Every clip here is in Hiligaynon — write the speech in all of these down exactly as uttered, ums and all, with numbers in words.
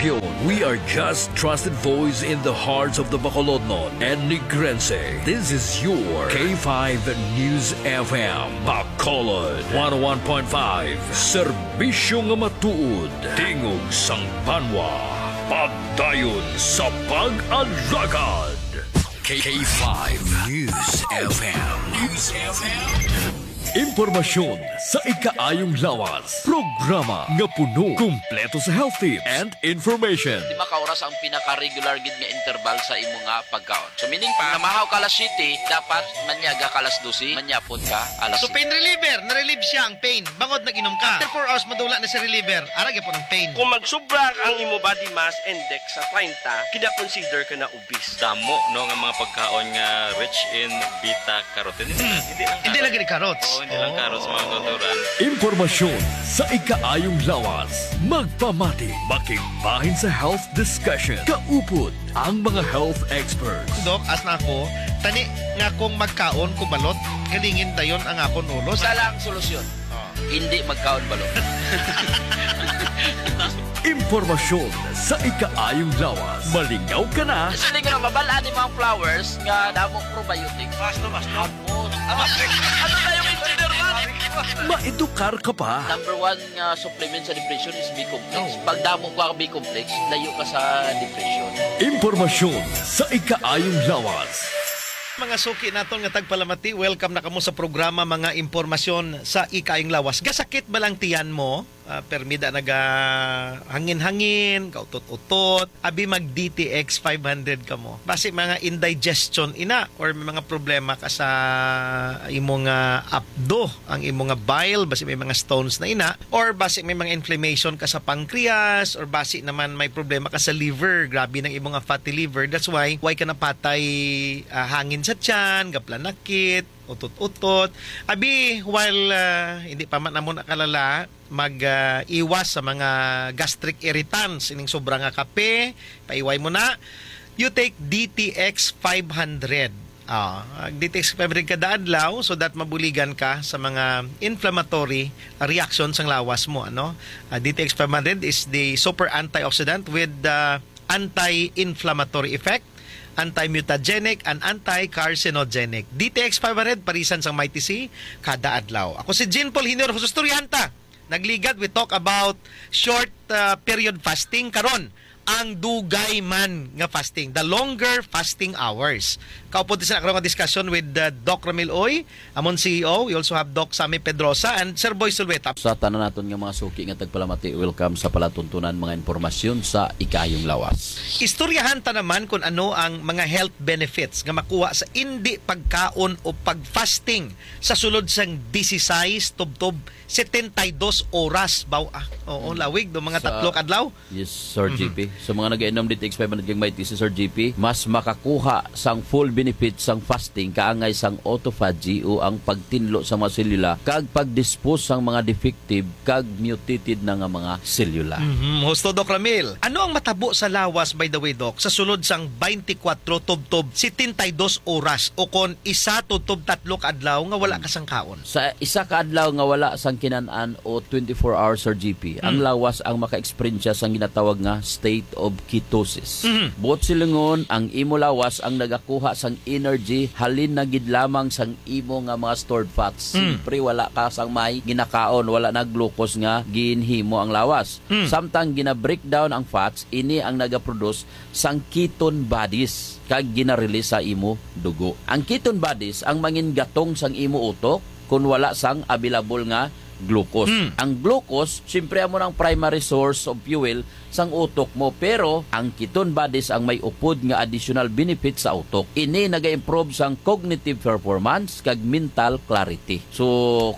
We are just trusted voice in the hearts of the Bacolodnon and Negrense. This is your K five News F M, Bacolod, one oh one point five. Serbisyo nga matuod, tingog sang banwa, pagdayon sa pag-alagad. K five News F M. News F M. Impormasyon sa ikaayong lawas. Programa nga puno, kumpleto sa health tips and information. Di ba ka oras ang pinaka-regular gid nga interval sa imo nga pagkaon? So, meaning pa, namahaw ka alas siyete, dapat manyaga ka alas dose, manyapon ka alas So, pain reliever, na-relieve siya ang pain. Bangod nag-inom ka. After four hours, madula na si reliever. Ara gyapon ang pain. Kung magsubra ang imo body mass index sa treinta, kina-consider ka na obese. Damo, no, nga mga pagkaon nga rich in beta carotene. Hindi lang Hindi carrot. Lagi ni carrots. Oo, hindi lang Oo. Carrots, mga kautoran. Impormasyon sa ikaayong lawas. Magpamati, makigbahin sa health discussion. Kaupod ang mga health experts. Dok, as na ako, tani nga kung magkaon ko balot, galingin dayon ang akon ulo. Isa lang solusyon. Oh. Hindi magkaon balot. Impormasyon sa ikaayong lawas. Malingaw ka na. Sini nga mabal-an ni mga flowers nga damo probiotics. Basta, basta. Ano na yung engineer man? Maedukar ka pa. Number one nga supplement sa depression is B-complex. Oh. Pag damo ka B-complex, layo ka sa depression. Impormasyon sa ikaayong lawas. Mga suki naton nga tagpalamati, welcome na kamo sa programa Mga Impormasyon sa Ikaayong Lawas. Gasakit ba lang tiyan mo? Ah, permi da naga hangin-hangin, kautot-utot. Abi mag D T X five hundred kamo. Basi mga indigestion ina or may mga problema ka sa imo nga apdo, ang imo nga bile, basi may mga stones na ina, or basi may mga inflammation ka sa pancreas, or basi naman may problema ka sa liver, grabe nang imo nga fatty liver. That's why, why ka napatay, ah, hangin sa tiyan, gaplanakit, utot-utot. Abi, while, ah, hindi pa man amo nakalala, mag, ah, iwas sa mga gastric irritants, ining sobra nga kape, paiway mo na. You take D T X five hundred. Ah, D T X five hundred kada adlaw so that mabuligan ka sa mga inflammatory reaction sang lawas mo, ano? Ah, D T X five hundred is the super antioxidant with the anti-inflammatory effect, anti-mutagenic, and anti-carcinogenic. D T X five hundred, parisan sang Mighty C, kada adlaw. Ako si Jean Paul Junior Husus Turyanta. Nagligad, we talk about short, uh, period fasting. Karon, ang dugay man nga fasting, the longer fasting hours. Kaupod sa karon nga discussion with, uh, Doc Ramil Uy, amon C E O. We also have Doc Sammy Pedrosa and Sir Boy Sulweta. Sa tanan naton nga mga suki nga tagpalamati, welcome sa palatuntunan mga impormasyon sa Ikaayong Lawas. Istoryahan ta naman kung ano ang mga health benefits nga makuha sa indi pagkaon o pag-fasting sa sulod sang disisais tubtob setenta y dos oras, baw, ah. Oo, Mm. lawig do, mga Sa tatlo ka adlaw. Yes, Sir Mhm. G P. Sa mga nag-inom D T X five hundred kag Mighty C, Sir G P, mas makakuha sang full benefit sang fasting kaangay sang autophagy o ang pagtinlo sa mga selula kag pag-dispose sang mga defective kag mutated na nga mga selula. Mhm. Husto, Doc Ramil. Ano ang matabo sa lawas, by the way, Doc, sa sulod sang twenty-four tubtob setenta y dos oras o kon isa tubtob tatlo ka adlaw nga wala Mm. ka sang kaon? Sa isa ka adlaw nga wala sang kinan-an o twenty-four hours, Sir G P, ang Mm. lawas ang maka-eksperyensya sang ginatawag nga state of ketosis. Mhm. Buot silingon, ang imo lawas ang nagakuha sang energy halin na gid lamang sang imo nga mga stored fats. Mm. Siyempre, wala ka sang may ginakaon, wala na glucose nga ginhimo ang lawas. Mm. Samtang gina-breakdown ang fats, ini ang nagaproduce sang ketone bodies kag gina-release sa imo dugo. Ang ketone bodies ang mangin gatong sang imo utok kon wala sang available nga glucose. Mm. Ang glucose, siyempre, amo nang primary source of fuel sang utok mo, pero ang ketone bodies ang may upod nga additional benefit sa utok. Ini naga-improve sang cognitive performance kag mental clarity. So,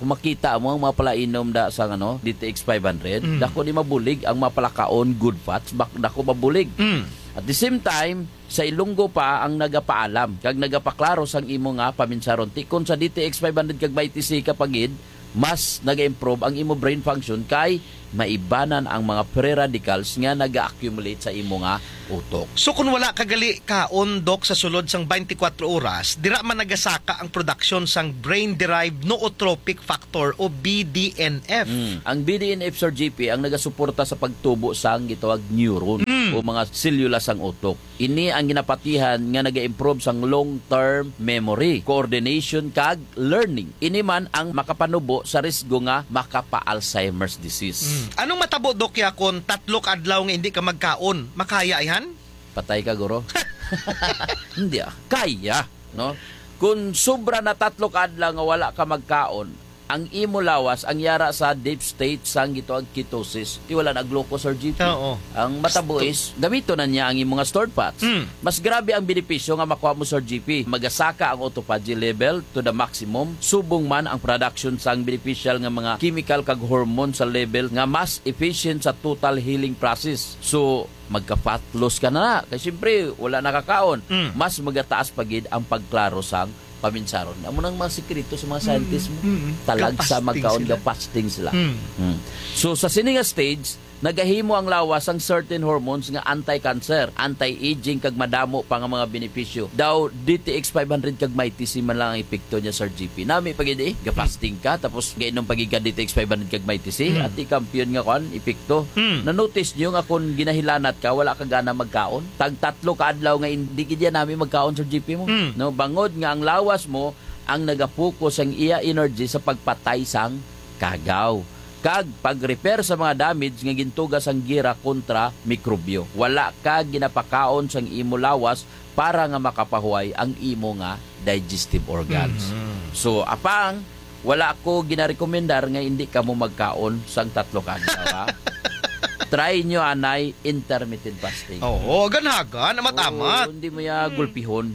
kung makita mo ang mga palainom da sa, ano, D T X five hundred, Mm. dako di mabulig ang mga palakaon, good fats, bak-, dako mabulig. Mm. At the same time, sa Ilonggo pa ang nagapaalam kag nagapaklaro sang imo nga paminsaron. Ti kon sa D T X five hundred kag Mighty C ka pa gid, mas naga-improve ang imo brain function kay maibanan ang mga free radicals nga naga-accumulate sa imo nga utok. So, kung wala ka gali kaon, Doc, sa sulod sang twenty-four oras, dira man nagasaka ang production sang brain-derived nootropic factor o B D N F. Mm. Ang B D N F, Sir G P, ang nagasuporta sa pagtubo sang gitawag neuron. Mm. o mga selula sang utok. Ini ang ginapatihan nga naga-improve sang long-term memory, coordination, kag learning. Ini man ang makapanubo sa risgo nga makapa-Alzheimer's disease. Mm. Anong matabo, Doc, ya, kon tatlo ka adlaw nga hindi ka magkaon? Makaya, ihan? Patay ka, guro. Hindi, ah. Kaya, no? Kung sobra na tatlo ka adlaw nga wala ka magkaon, ang imo lawas ang yara sa deep state sang gitawag ketosis. Ti wala na glucose, Sir G P. Oo. Ang matabo Sto- is, gamito na niya ang imo nga stored fats. Mm. Mas grabe ang benepisyo nga makuha mo, Sir G P. Magasaka ang autophagy level to the maximum. Subong man ang production sang beneficial nga mga chemical kag hormone sa level nga mas efficient sa total healing process. So, magka-fat loss ka na. Kay siyempre, wala nakakaon. Mm. Mas magataas pa gid ang pagklaro sang paminsaron. Amo nang mga sikreto sa mga scientist mo. Mm, mm. Talag sa Ga-fasting magkaon, sila. Ga-fasting sila. Mm. Mm. So, sa sini nga stage, nagahimo ang lawas sang certain hormones nga anti-cancer, anti-aging, kag madamo pa nga mga benepisyo. Daw, D T X five hundred kag Mighty C man lang ang epekto niya, Sir G P. Nami pa gid eh, ga-fasting ka, tapos gainom pa gid ka D T X five hundred kag Mighty C, Mm. ati kampiyon nga kwan, epekto. Mm. Na-notice niyo nga kung ginahilanat ka, wala ka gana magkaon? Tag tatlo ka adlaw nga hindi gid yan nami magkaon, Sir G P mo. Mm. No, bangod nga ang lawas mo ang nagapokus ang iya energy sa pagpatay sang kagaw kag pag-repair sa mga damage nga gintuga sang gira kontra mikrobyo. Wala ka ginapakaon sang imo lawas para nga makapahuway ang imo nga digestive organs. Mhm. So, apang wala ko ginarekomendar nga hindi kamo magkaon sang tatlo ka adlaw, ha? Try nyo anay intermittent fasting. Oo, ganhagan, amat-amat. Oo, hindi mo ya Mm. gulpihon.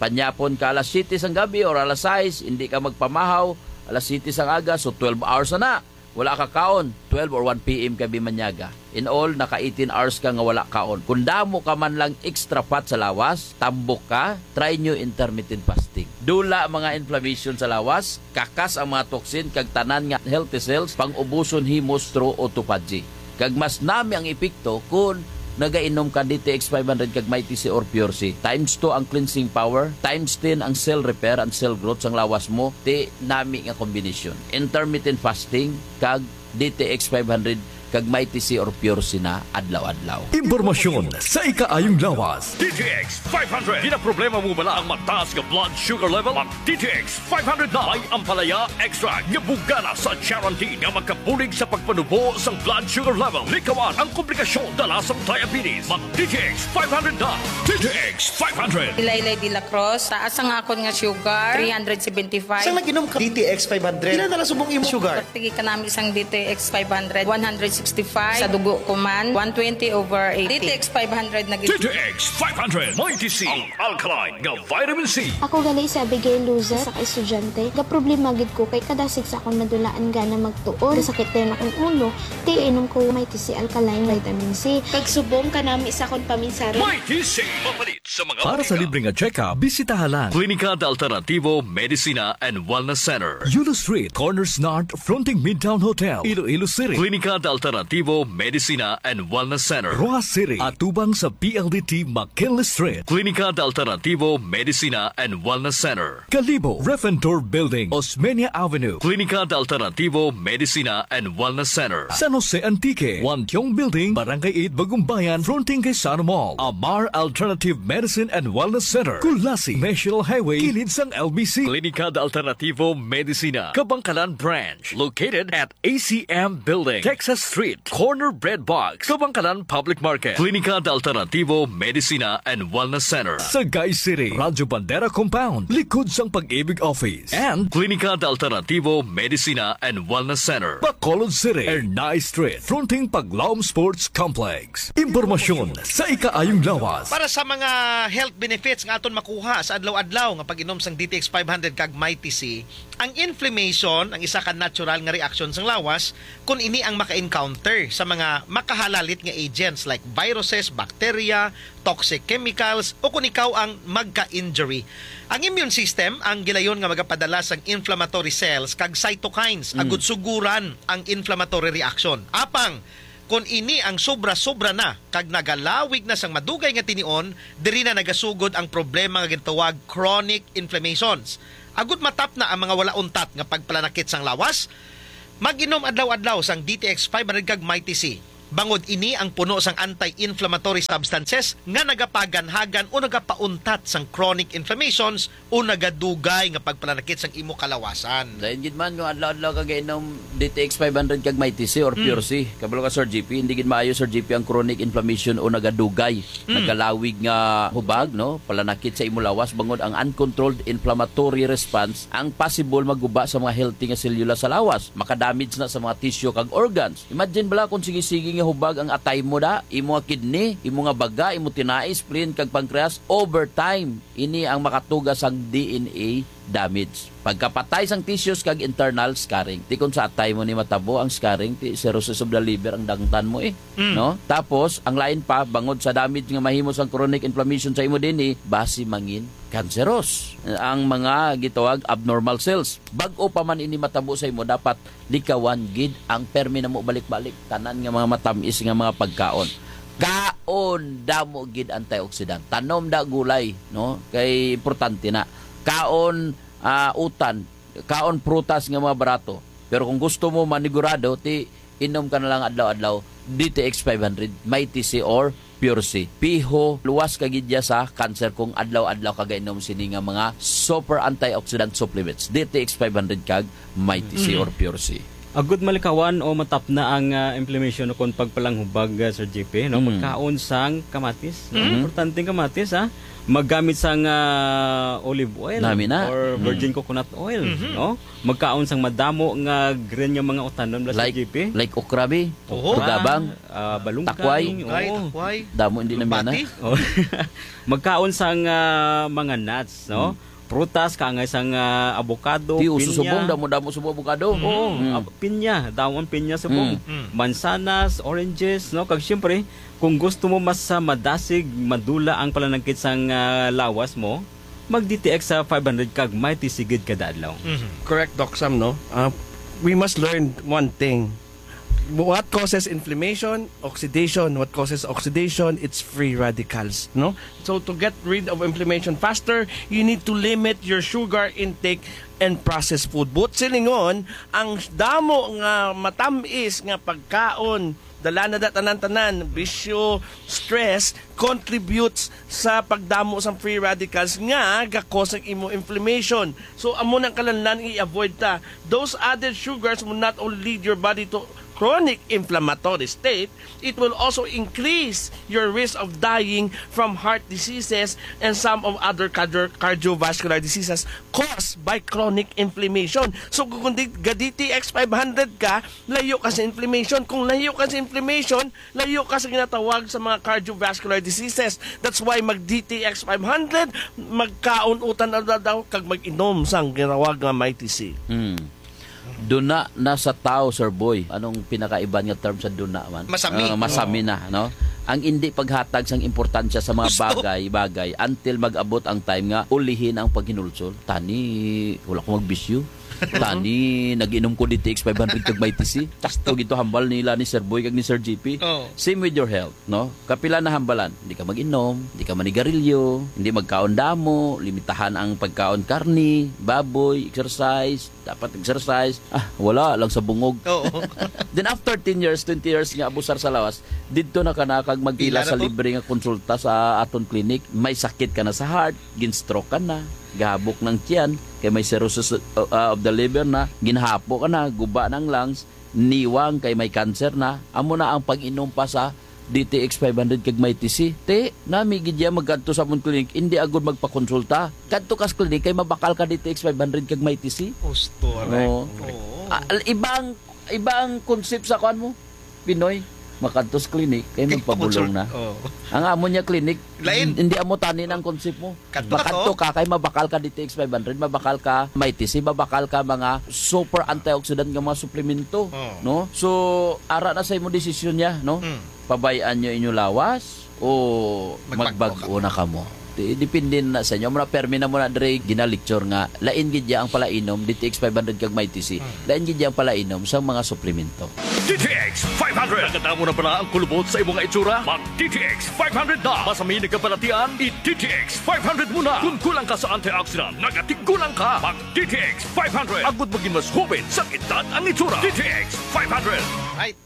Panyapon ka alas siyete sang gabi or alas sais, hindi ka magpamahaw, alas siyete sang aga, so twelve hours na na. Wala ka kaon, twelve or one P M ka bimanyaga. In all, naka eighteen hours ka nga wala kaon. Kung damo ka man lang extra fat sa lawas, tambok ka, try nyo intermittent fasting. Dula mga inflammation sa lawas, kakas ang mga toxin kag tanan nga healthy cells, pang-ubuson himo through autophagy. Kag mas nami ang epekto kun nagainom ka D T X five hundred kag Mighty C or Pure C. Times two ang cleansing power, times ten ang cell repair and cell growth sang lawas mo. Ti nami nga kombinasyon. Intermittent fasting kag D T X five hundred kag Mighty C or Pure C na adlaw-adlaw. Impormasyon sa ikaayong lawas. D T X five hundred. Ginaproblema mo bala ang mataas nga blood sugar level? Mag D T X five hundred na. May ampalaya extract nga bugana sa Charantin nga makabulig sa pagpanubo sang blood sugar level. Likawan ang komplikasyon dala sang diabetes. Mag D T X five hundred na. D T X five hundred. Ilaylay de la Cruz, taas ang akon nga sugar, three hundred seventy-five. Sang nag-inom ka D T X five hundred, pila na lang subong imo sugar? Pagtigi ka nami sang D T X five hundred, one hundred sixty-five. Sa dugo ko man, one twenty over eighty. D T X five hundred na gid. D T X five hundred, Mighty C, ang alkaline nga vitamin C. Ako gali si Abigail Luzet, sa ka-estudyante. Gaproblema gid ko kay kadasig sa akon madulaan gana magtuon. Gasakit dayon akon ulo, ti inom ko Mighty C alkaline vitamin C. Kag subong kanami sa akon paminsaron. Mighty C, mapalit sa mga Para sa botika. Libre nga check-up, bisitaha lang Klinika de Alternativo Medicina and Wellness Center. Yulo Street, Corners North, fronting Midtown Hotel, Iloilo City. Klinika de Alternativo Medicina and Wellness Center. Roxas City, atubang sa P L D T McKinley Street. Klinika de Alternativo Medicina and Wellness Center. Kalibo, Refentor Building, Osmeña Avenue. Klinika de Alternativo Medicina and Wellness Center. San Jose Antique, Wantiong Building, Barangay eight, Bagumbayan, fronting kay Sano Mall. Amar Alternative Medicine and Wellness Center, Culasi, National Highway, kilid sang L B C. Klinika de Alternativo Medicina, Kabangkalan Branch, located at A C M Building, Texas Street, corner Bread Box, Kabangkalan Public Market. Klinika de Alternativo Medicina and Wellness Center, Sagay City, Radyo Bandera Compound, likod sang Pag-ibig Office. And Klinika de Alternativo Medicina and Wellness Center, Bacolod City, Ernai Street, fronting Paglaom Sports Complex. Impormasyon sa ikaayong lawas. Para sa mga health benefits nga aton makuha sa adlaw-adlaw nga pag-inom sang D T X five hundred kag Mighty C, ang inflammation ang isa ka natural nga reaksyon sang lawas kon ini ang maka-encounter sa mga makahalalit nga agents like viruses, bacteria, toxic chemicals, o kon ikaw ang magka-injury. Ang immune system ang gilayon nga magapadala sang inflammatory cells kag cytokines Mm. agud suguran ang inflammatory reaction. Apang kon ini ang sobra-sobra na kag nagalawig na sang madugay nga tinion, diri na nagasugod ang problema nga ginatawag chronic inflammations. Agud matapna ang mga wala untat nga pagpalanakit sang lawas, mag-inom adlaw-adlaw sang D T X five hundred kag Mighty C. Bangod ini ang puno sang anti-inflammatory substances nga nagapaganhagan o nagapauntat sang chronic inflammations o nagadugay nga pagpalanakit sang imo kalawasan. Lain gid man kung adlaw-adlaw ka gainom D T X five hundred kag Mighty C or Mm. Pure C. Kabalo ka, Sir G P, hindi gid maayo, Sir G P, ang chronic inflammation o nagadugay, Mm. nagalawig nga hubag, no? Palanakit sa imo lawas, bangod ang uncontrolled inflammatory response ang possible maguba sa mga healthy nga selula sa lawas. Makadamage na sa mga tissue kag organs. Imagine bala kung sige-sige nga hubag ang atay mo da, imo nga kidney, imo nga baga, imo tinai, spleen kag pancreas, over time, ini ang makatuga sang D N A damage. Pagkapatay sang tissues kag internal scarring. Ti kung sa atay mo ni matabo ang scarring, ti cirrhosis of the liver ang dangtan mo eh. Mm. No? Tapos, ang lain pa, bangod sa damage nga mahimo sang chronic inflammation sa imo D N A, basi mangin cancerous ang mga gitawag abnormal cells. Bag-o pa man ini matabo sa imo, dapat likawan gid ang permi namo balik-balik, tanan nga mga matamis nga mga pagkaon. Kaon damo gid antioxidant. Tanom da gulay, no? Kay importante na. Kaon, ah, utan, kaon prutas nga mga barato. Pero kung gusto mo manigurado, ti inom ka na lang adlaw-adlaw D T X five hundred, Mighty C or Pure C. Piho, luwas ka gid ya sa cancer kung adlaw-adlaw ka gainom sini nga mga super antioxidant supplements, D T X five hundred kag Mighty C Mm. or Pure C. Agud malikawan o matapna ang, ah, inflammation ukon pagpalanghubag, ah, Sir G P, no? Mm. Magkaon sang kamatis, no? Mm. Importante ang kamatis, ha? Maggamit sang, ah, olive oil Nami na. or virgin Mm. coconut oil, Mhm. no? Magkaon sang madamo nga green nga mga utanon, bala, Sir Like, G P. like okra, bi? Oo. Tugabang. Ah, balunggay, Takway. Takway, oo. takway. Damo, hindi na Lumpati. mina. Oh. Magkaon sang, ah, mga nuts, no? Mm. Prutas, kaangay sang, ah, avocado, Ti, uso pinya. subong, damo-damo subong avocado. Oo, Mm. ah, pinya, damo ang pinya subong. Mm. Mm. Mansanas, oranges, no? Kag siyempre, kung gusto mo mas, ah, madasig, madula ang palanangkit sang, ah, lawas mo, mag D T X sa five hundred kag Mighty C gid kada adlaw. Mhm. Correct, Doc Sam, no? Uh, we must learn one thing. What causes inflammation? Oxidation. What causes oxidation? It's free radicals, no? So to get rid of inflammation faster, you need to limit your sugar intake and processed food. But silingon, ang damo nga matamis nga pagkaon, dala na da tanan-tanan, bisyo, stress, contributes sa pagdamo sang free radicals nga ga-cause ang imo inflammation. So, amo nang kalanlan i-avoid ta. Those added sugars will not only lead your body to chronic inflammatory state, it will also increase your risk of dying from heart diseases and some of other cardio-, cardiovascular diseases caused by chronic inflammation. So, kung di-, ga D T X five hundred ka, layo ka sa inflammation. Kung layo ka sa inflammation, layo ka sa ginatawag sa mga cardiovascular diseases. That's why mag D T X five hundred, magkaon utan adlaw-adlaw, kag mag-inom sang ginatawag nga Mighty C. Hmm. Duna na sa tao, Sir Boy. Anong pinakaiban nga term sa duna man? Masami. Ah, masami Oo. na, no? Ang hindi paghatag sang importansya sa mga Gusto. bagay-bagay until mag-abot ang time nga ulihin ang paghinulsol. Tani, wala ko magbisyo. Tani, nag-inom ko D T X five hundred kag Mighty C. Sakto gito hambal nila ni Sir Boy kag ni Sir G P. Oo. Same with your health, no? Kapila na hambalan, hindi ka mag-inom, hindi ka manigarilyo, hindi magkaon damo, limitahan ang pagkaon karni, baboy, exercise, dapat exercise. Ah, wala lang sa bungog. Oo. Then after ten years, twenty years nga abusar sa lawas, didto na ka na kag magpila Pila na sa to? libre nga konsulta sa aton clinic. May sakit ka na sa heart, gin-stroke ka na, gahabok ng tiyan, kay may cirrhosis, uh, uh, of the liver na, ginhapo ka na, guba ng lungs, niwang kay may cancer na, amo na ang pag-inom pa sa D T X five hundred kag Mighty C. Ti, nami gid ya magkadto sa amon clinic, hindi agud magpakonsulta. Kadto ka sa clinic kay mabakal ka D T X five hundred kag Mighty C. Gusto, aray. Oo. Oo. Ah, ibang, ibang concept sa kuan mo, Pinoy. Makadto sa clinic kay Kay magpabulong na. pakonsult-, oo. Ang amo niya clinic, Lain. hindi amo tani ang concept mo. Kadto ka Makadto to? ka kay mabakal ka D T X five hundred, mabakal ka Mighty C, mabakal ka mga super antioxidant nga mga suplemento, Oh. no? So, ara na sa imo desisyon niya, no? Mm. Pabay-an niyo inyo lawas o Magbag-o magbag-o ka. na kamo? Di-, depende na sa inyo. Mura permi na mo na dire ginalecture nga lain gid ya ang palainom, D T X five hundred kag Mighty C. Mm. Lain gid ya ang palainom sa mga suplemento. D T X five hundred. Nakadamo na bala ang kulubot sa imo nga itsura? Mag D T X five hundred na. Masami nagkabalatian, i D T X five hundred muna. Kung kulang ka sa antioxidant, nagatigulang ka. Mag D T X five hundred. Agud maging mas hubit sa edad ang itsura. D T X five hundred. Right.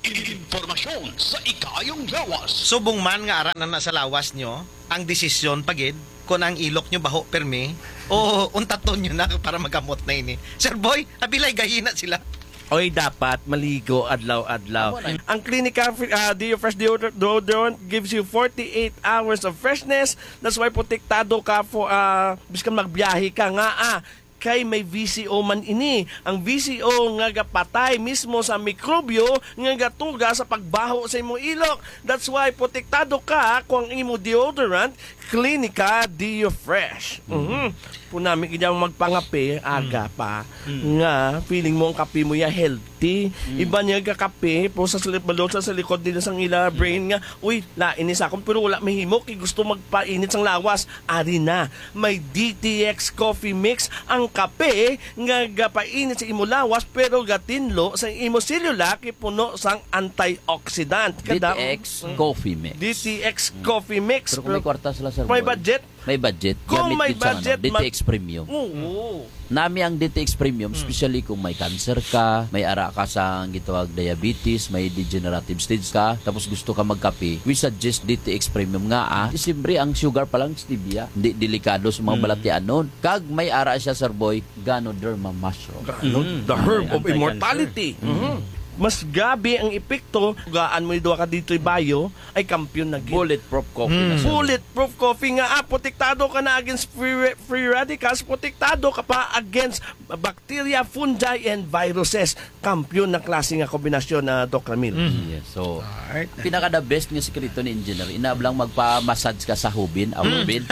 Impormasyon sa ikaayong lawas. Subong man nga ara na na sa lawas nyo, ang desisyon pa gid kung ang ilok nyo baho permi o untaton nyo na para magamot na ini. Sir Boy, abilay gahina sila. Oy, dapat maligo adlaw-adlaw. Amo na. Ang Clinica Fre-, ah, Deo Fresh Deodor-, Deodorant gives you forty-eight hours of freshness. That's why protektado ka for, ah, biskan magbiyahe ka nga, ah, kay may V C O man ini. Ang V C O nga gapatay mismo sa mikrobyo nga gatuga sa pagbaho sa imong ilok. That's why protektado ka kung ang imo deodorant, Clinica Deo Fresh. Mhm. Kung nami kanya magpangape, aga pa, Mm. nga feeling mo ang kape mo ya healthy. Mm. Iba niya gakape, po sa slip balot sa, sa likod nila sang ila brain nga, "Uy, lain ni sa akon, pero wala mahimo, kay gusto magpainit sang lawas." Ari na, may D T X Coffee Mix, ang kape nga gapainit sa imo lawas, pero gatinlo sa imo selula, kay puno sang antioxidant. Kada D T X Mm. Coffee Mix. D T X Mm. Coffee Mix. Pero kung may Pero kwarta sila, Sir may Boy, budget? May budget. Kung Gamit may gid sang, ano, budget, D T X mag- Premium. Oo. Nami ang D T X Premium, Mm. especially kung may cancer ka, may ara ka sa gitawag diabetes, may degenerative stage ka, tapos gusto ka magkape, we suggest D T X Premium nga, ah, siyempre ang sugar pa lang stevia, hindi delikado sa mga Mm. balatianon. Kag may ara siya, Sir Boy, Ganoderma mushroom. Gano-, Mm. the herb May of anti-cancer. immortality. Mm. Mhm. Mas gabi ang epekto, gaan mo yung duha ka D three Bio, ay kampiyon na gid. Bulletproof coffee na, Mm. sir. Bulletproof coffee nga, ah, protektado ka na against free, free radicals, protektado ka pa against bacteria, fungi, and viruses. Kampiyon na klase nga kombinasyon na, Doc Ramil. Mm. Yes, so, Alright. pinaka the best nga sikreto ni Engineer, inablang magpa-massage ka sa hubin, ah, Mm. hubin,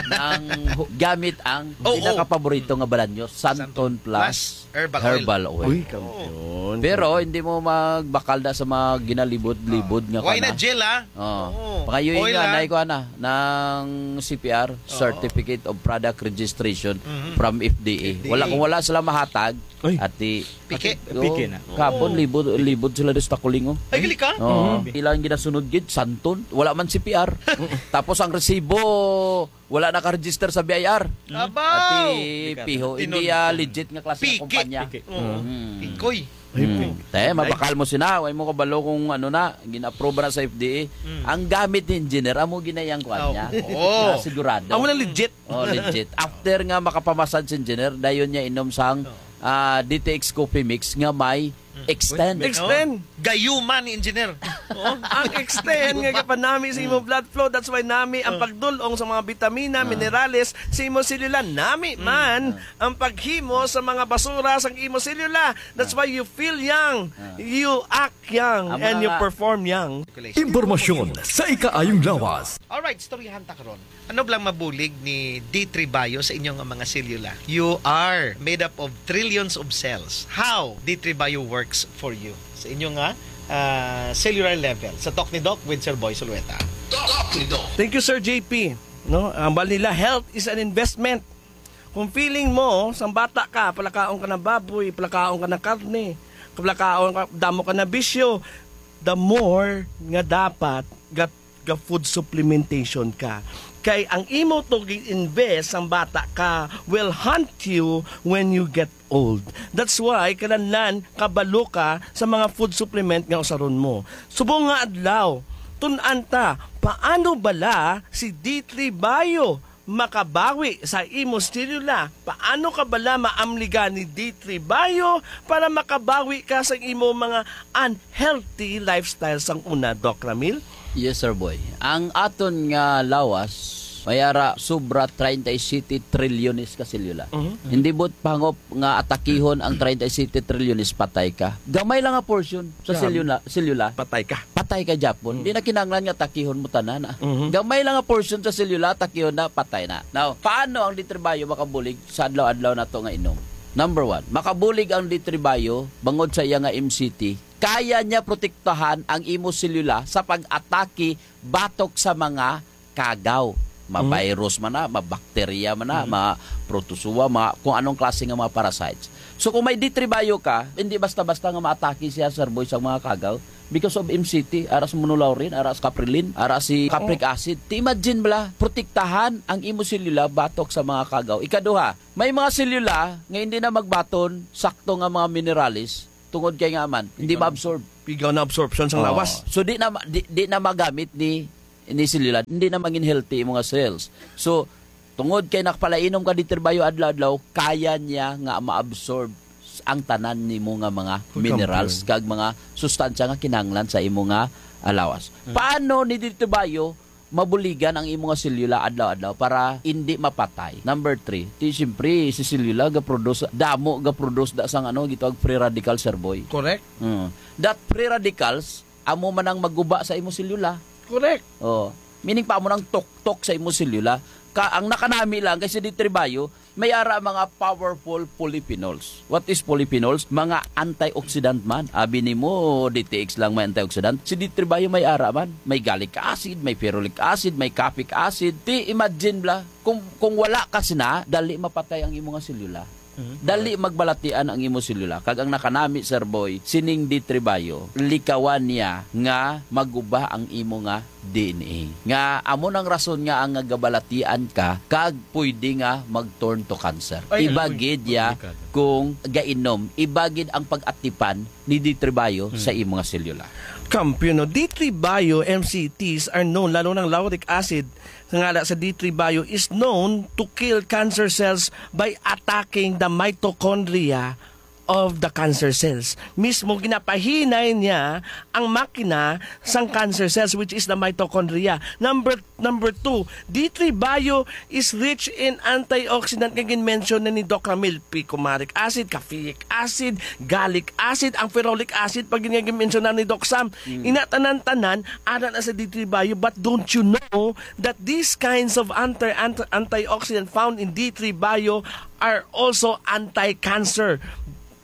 nang hu-, gamit ang Oo. pinakapaborito nga balanyo, Santon Santon Plus Plus Herbal Oil. Herbal Oil. Uy, Oo. kampiyon. Pero hindi mo magbakal na sa mga ginalibot-libot nga Why kana. na gel, ah? Oh. Oo. Pangayoy Oil, nga, ah. nay ko ana, ng C P R, Oo. Certificate of Product Registration Mhm. from F D A. F D A. Wala, kung wala sila mahatag, Ay. ati, Piki. Piki na. Kapon, Oo. libod, libod sila sa Takulingo. Ay, gali ka? Oo. Mhm. Ilang ginasunod gid, Santon. Wala man C P R. Tapos ang resibo, wala naka-register sa B I R. Abaw! Ati, Delikado. piho. Hindi, Tinultol. ah, legit nga klase ng Piki. kumpanya. Piki. Oo. Mm. Pikoy. Ay, Mm. piki. Te, mabakal mo sina. Way mo kabalo kung ano na, gina-approve na sa F D A. Mm. Ang gamit ni engineer, amo ginayang kuan Aw. niya. Oo. Ah, sigurado. Amo na legit. Oh, legit. After nga makapamassage si engineer, dayon niya inom sang, Oo. ah, D T X Coffee Mix nga may Mm. Extend. Wait, wait, Extend. oh. Gayuma ni engineer. Oh. Ang extend nga Gayuma. gapanami sa imong Mm. blood flow. That's why nami ang Oh. pagdul-ong sa mga bitamina, Ah. minerales sa imong selula. Nami Mm. man Ah. ang paghimo sa mga basura sa imong selula. That's Ah. why you feel young, Ah. you act young, Ang and mga you nga perform young. Impormasyon sa ikaayong lawas. Alright, istoryahan ta karon. Ano bala ang mabulig ni D three Bio sa inyo nga mga selula? You are made up of trillions of cells. How D three Bio works for you sa inyo nga, ah, cellular level? Sa Talk ni Doc with Sir Boy Sulueta. Talk ni Doc. Thank you, Sir J P. No, ang bal nila, health is an investment. Kung feeling mo, sang bata ka, palakaon ka na baboy, palakaon ka na karne, palakaon ka, damo ka na bisyo, the more nga dapat ga, ga food supplementation ka. Kay ang imo to gi-invest sang bata ka will haunt you when you get old. That's why, kinahanglan kabalo ka sa mga food supplement nga usaron mo. Subong nga adlaw, tun-an ta, paano bala si D three Bio makabawi sa imo selula? Paano ka bala maamligan ni D three Bio para makabawi ka sa imo mga unhealthy lifestyle sang una, Doc Ramil? Yes, Sir Boy. Ang aton nga lawas, may ara sobra treinta y siete trilyones ka selula. Mhm. Hindi buot pangup nga atakihon ang treinta y siete trilyones, patay ka. Gamay lang nga portion sa Yeah. selula, selula. Patay ka. Patay ka gyapon. Mm. Di na kinahanglan nga atakihon mo tanan, ah. Mhm. Gamay lang nga portion sa selula, atakihon na, patay na. Now, paano ang D three Bio makabulig sa adlaw-adlaw nato nga inom? Number one, makabulig ang D three Bio bangod sa iya nga M C T. Kaya niya protektahan ang imo selula sa pag-atake batok sa mga kagaw. Mm. Ma-virus man na, ma-bacteria man na, Mm. ma-protozoa, ma-, kung anong klase nga mga parasites. So, kung may D three Bio ka, hindi basta-basta nga maatake siya, Sir Boy, sa mga kagaw. Because of M C T, ara sa monolaurin, ara sa caprilin, ara si capric Oh. acid. Ti imagine bala, protektahan ang imo selula batok sa mga kagaw. Ikaduha, may mga selula nga hindi na magbaton sakto nga mga minerales. tungod kay nga man, hindi Pigaw. ma-absorb. Pigaw na absorption sang Oo. lawas. So, di na ma-, di, di na magamit ni, ni selula, hindi na mangin healthy imo nga cells. So, tungod kay nakapalainom ka D three Bio adlaw-adlaw, kaya niya nga ma-absorb s-, ang tanan nimo nga mga Full minerals compound. kag mga sustansya nga kinahanglan sa imo nga lawas. Mm. Paano ni D three Bio mabuligan ang imo nga selula adlaw-adlaw para hindi mapatay? Number three, ti siyempre, si selula ga-produce, damo ga-produce da sang ano, gitawag free radical, Sir Boy. Correct. Mm. That free radicals, amo man ang maguba sa imo selula. Correct. Oh, meaning pa mo nang tuktok sa imo selula. Ka, ang nakanami lang kay si D three Bio, may ara mga powerful polyphenols. What is polyphenols? Mga antioxidant man. Abi nimo, D T X lang may antioxidant. Si D three Bio may ara man. May gallic acid, may ferulic acid, may caffeic acid. Ti imagine bla, kung, kung wala ka sina, dali mapatay ang imo nga selula. Mhm. Dali magbalatian ang imo selula. Kag ang nakanami, Sir Boy, sining D three Bio, likawan niya nga maguba ang imo nga D N A. Nga amo nang rason nga ang nagabalatian ka kag pwede nga mag-turn to cancer. Ay, Iba agoy. gid ya Delikado. kung gainom, iba gid ang pag-atipan ni D three Bio Hmm. sa imo nga selula. Kampiyon, no? D three Bio M C Ts are known, lalo ng lauric acid, nga ala sa D three Bio is known to kill cancer cells by attacking the mitochondria of the cancer cells. Mismo ginapahinay niya ang makina sang cancer cells, which is the mitochondria. Number, number two, D three Bio is rich in antioxidant nga gin-mention na ni Doc Ramil, picumaric acid, caffeic acid, gallic acid, ang ferulic acid, pag gin-, nga gin-mention na ni Doc Sam. Mm. Ina tanan-tanan, ana na sa D three Bio, but don't you know that these kinds of anti-, anti-, antioxidant found in D three Bio are also anti-cancer?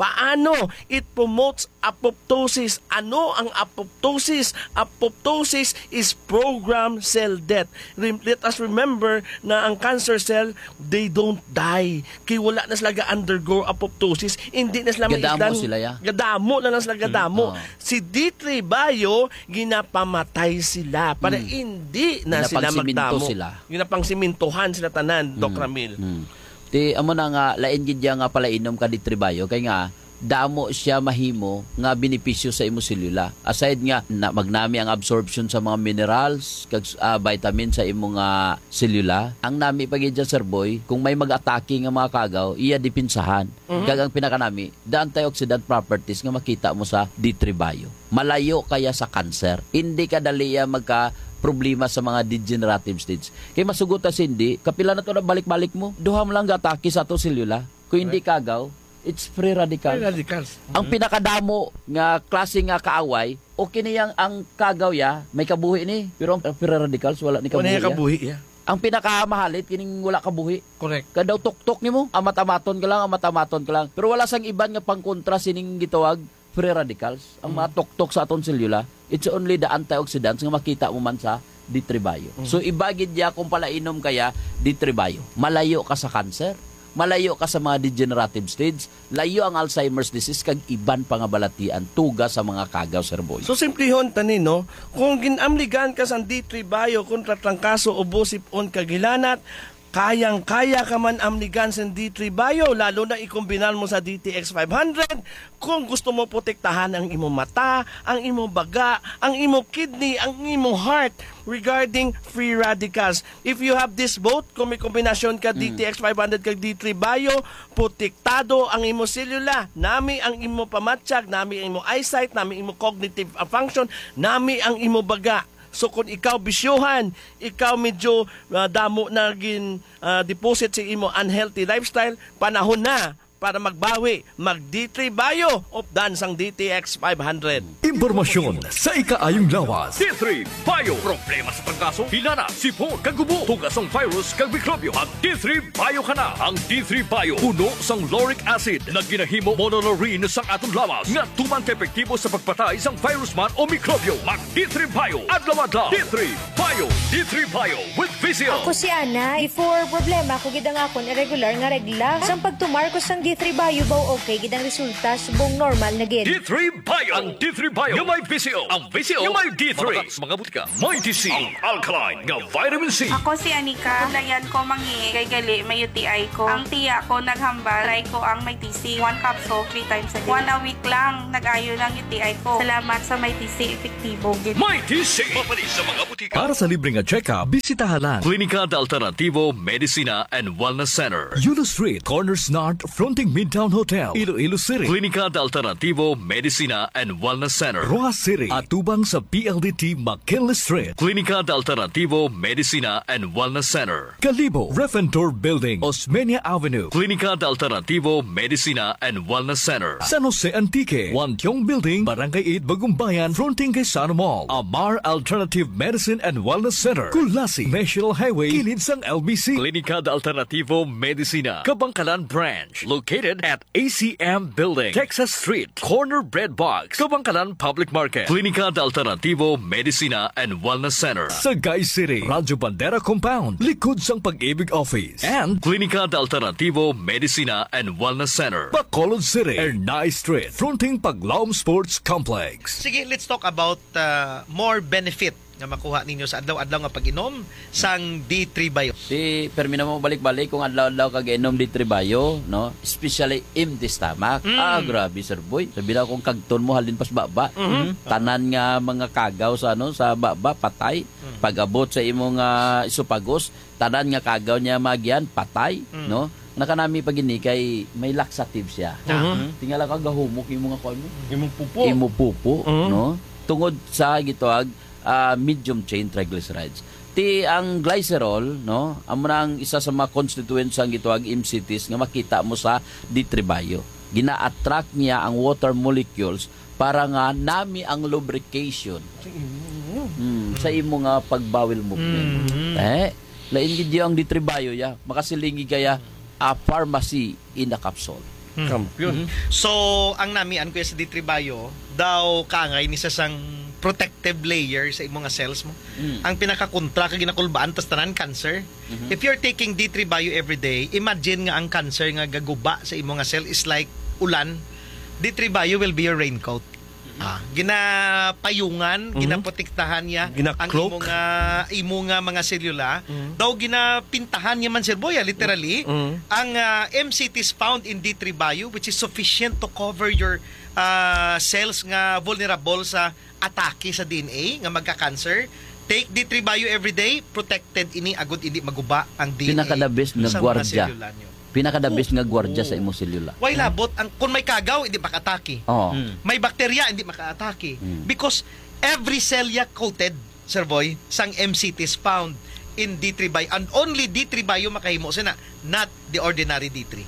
Paano? It promotes apoptosis. Ano ang apoptosis? Apoptosis is programmed cell death. Rem-, let us remember na ang cancer cell, they don't die. Kay wala na sila ga-undergo apoptosis. Hindi na sila Gadamo maitlan. sila, ya. Gadamo na lang sila, gadamo. Mm, oo. Si D three Bio, ginapamatay sila para Mm. hindi na sila Ginapangsiminto magdamo. sila. Ginapangsimintuhan sila tanan, Doc Mm, Ramil. mm. Ti, amo na nga, lain gid ya nga palainom ka D three Bio, kay nga, damo siya mahimo nga benepisyo sa imo selula. Aside nga, na, magnami ang absorption sa mga minerals, kag, ah, vitamin sa imo nga selula, ang nami pa gid dyan, Sir Boy, kung may mag-atake nga mga kagaw, iya depensahan. Mhm. Kag ang pinakanami, the antioxidant properties nga makita mo sa D three Bio. Malayo kaya sa cancer. Hindi ka dali ya magka-problema sa mga degenerative stage. Kay masugot ta, Cindy, kapila na to na balik-balik mo? Duha mo lang ga-atake sa ato selula. Kung hindi Correct. kagaw, it's free radicals. Free radicals. Ang Mhm. pinakadamo nga klase nga kaaway, o kini yang ang kagaw ya, may kabuhi ni, pero ang free radicals wala ni Wala kabuhi niya ya. kabuhi, yeah. Ang pinakamahalit, kining wala kabuhi. Correct. Kadaw tuktok nimo, amat-amaton ka lang, amat-amaton ka lang. Pero wala sang iban nga pangkontra sining gitawag free radicals. Ang mga Mm. tuktok sa aton selula, it's only the antioxidants nga makita mo man sa D three Bio. Mm. So, iba gid ya kung palainom kaya D three Bio. Malayo ka sa cancer, malayo ka sa mga degenerative stage, layo ang Alzheimer's disease, kag iban pa nga balatian, tuga sa mga kagaw, Sir Boy. So, simplihon tani, no? Kung ginamligan ka sang D three Bio kontra trangkaso, ubo, sip-on, kag hilanat, kayang-kaya ka man amligan sang D three Bio, lalo na ikombinar mo sa D T X five hundred. Kung gusto mo protektahan ang imo mata, ang imo baga, ang imo kidney, ang imo heart, regarding free radicals. If you have this both, kung may kombinasyon ka Mm. D T X five hundred kag D three Bio, protektado ang imo selula, nami ang imo pamatyag, nami ang imo eyesight, nami imo cognitive, ah, function, nami ang imo baga. So kung ikaw bisyohan, ikaw medyo, ah, damo na gin, ah, deposit sa imo unhealthy lifestyle, panahon na para magbawi, mag D three Bio, updan sang D T X five hundred. Impormasyon sa ikaayong lawas. D three Bio. Problema sa trangkaso, hilanat, sip-on, kag ubo, tuga sang virus kag mikrobyo. Mag D three Bio ka na. Ang D three Bio puno sang lauric acid nga ginahimo monolaurin sang aton lawas nga tuman ka epektibo sa pagpatay sang virus man o mikrobyo. Mag D three Bio adlaw-adlaw. D three Bio. D three Bio with Ako si Ana. Before, problema ko gid ang akon irregular nga regla. Sang pagtumar ko sang D three Bio, baw okay gid ang resulta, subong normal na gid. D three Bio. Ang D three Bio nga may V C O. Ang V C O nga may D three. Mabakal sa mga butika. May D C. Ang alkaline nga vitamin C. Ako si Anika. Layan ko mangi kay gali may U T I ko. Ang tiya ko naghambal, try ko ang may D C. One capsule, three times a day. One a week lang, nag-ayo ng U T I ko. Salamat sa may D C, epektibo gid. May D C. Mapalis sa mga butika. Para sa libre nga check-up, bisitaha lang Klinika de Alternativo Medicina and Wellness Center, Yulo Street, corner Snart, fronting Midtown Hotel, Iloilo City. Klinika de Alternativo Medicina and Wellness Center, Roxas City, atubang sa P L D T McKinley Street. Klinika de Alternativo Medicina and Wellness Center, Kalibo, Refentor Building, Osmeña Avenue. Klinika de Alternativo Medicina and Wellness Center, San Jose Antique, Wantiong Building, Barangay eight, Bagumbayan, fronting kay Sano Mall. Amar Alternative Medicine and Wellness Center, Culasi, National Highway, kilid sang L B C. Klinika de Alternativo Medicina, Kabangkalan Branch, located at A C M Building, Texas Street, corner Bread Box, Kabangkalan Public Market. Klinika de Alternativo Medicina and Wellness Center, Sagay City, Radyo Bandera Compound, likod sang Pag-ibig Office. And Klinika de Alternativo Medicina and Wellness Center, Bacolod City, Ernai Street, fronting Paglaom Sports Complex. Sige, let's talk about uh, more benefit nga makuha ninyo sa adlaw-adlaw nga pag-inom sang D three Bio. Di, permi na mo balik-balik kung adlaw-adlaw kag inom D three Bio, no? Especially empty stomach. Mm. Ah, grabe, Sir Boy. Sabi na akong kagton mo, halin pas baba. Mhm. Tanan nga mga kagaw sa, ano, sa baba, patay. Mm. Pag-abot sa imo nga esophagus, tanan nga kagaw niya magian, patay, Mm. no? Nakanami pa gini kay may laxative siya. Mhm. Tingala ka, gahumok imo nga kuwan mo. Imong pupo. Imo pupo, Mhm. no? Tungod sa gitawag, ah, medium chain triglycerides. Ti ang glycerol, no? Amo na ang isa sa mga constituents sang gitawag M C Ts nga makita mo sa D three Bio. Gina-attract niya ang water molecules para nga nami ang lubrication. Sa imo. Hmm, sa imo nga pagbawil movement. Mm. Eh, lain gid ang D three Bio, ya. Makasilingi kaya a pharmacy in a capsule. Mm. Kampiyon. Mhm. So, ang namian ko sa D three Bio, daw kaangay ni sa sang protective layer sa imo nga cells mo. Mm. Ang pinakakontra ka ginakulbaan, tas tanan cancer. Mhm. If you're taking D three Bio every day, imagine nga ang cancer nga gaguba sa imo nga cell is like ulan. D three Bio will be your raincoat. Ah, ginapayungan, Mhm. ginaprotektahan niya ang Gina-cloak. imo nga, imo nga mga selula. Mhm. Daw ginapintahan niya man, Sir Boy, ah, literally. Mhm. Ang, ah, M C Ts found in D three Bio, which is sufficient to cover your, ah, cells nga vulnerable sa atake sa D N A nga magka-cancer. Take D three Bio every day, protected ini agud hindi maguba ang D N A Pinaka the best nga sa mga gwardya. selula niyo. Pinaka the best nga gwardya Oo. sa imong selula. Why labot ang, kung may kagaw, hindi makaatake. Oo. Mm. May bakterya, hindi makaatake. Mm. Because every cell ya coated, Sir Boy, sang M C T is found in D three Bio. And only D three Bio makahimo sina, not the ordinary D three.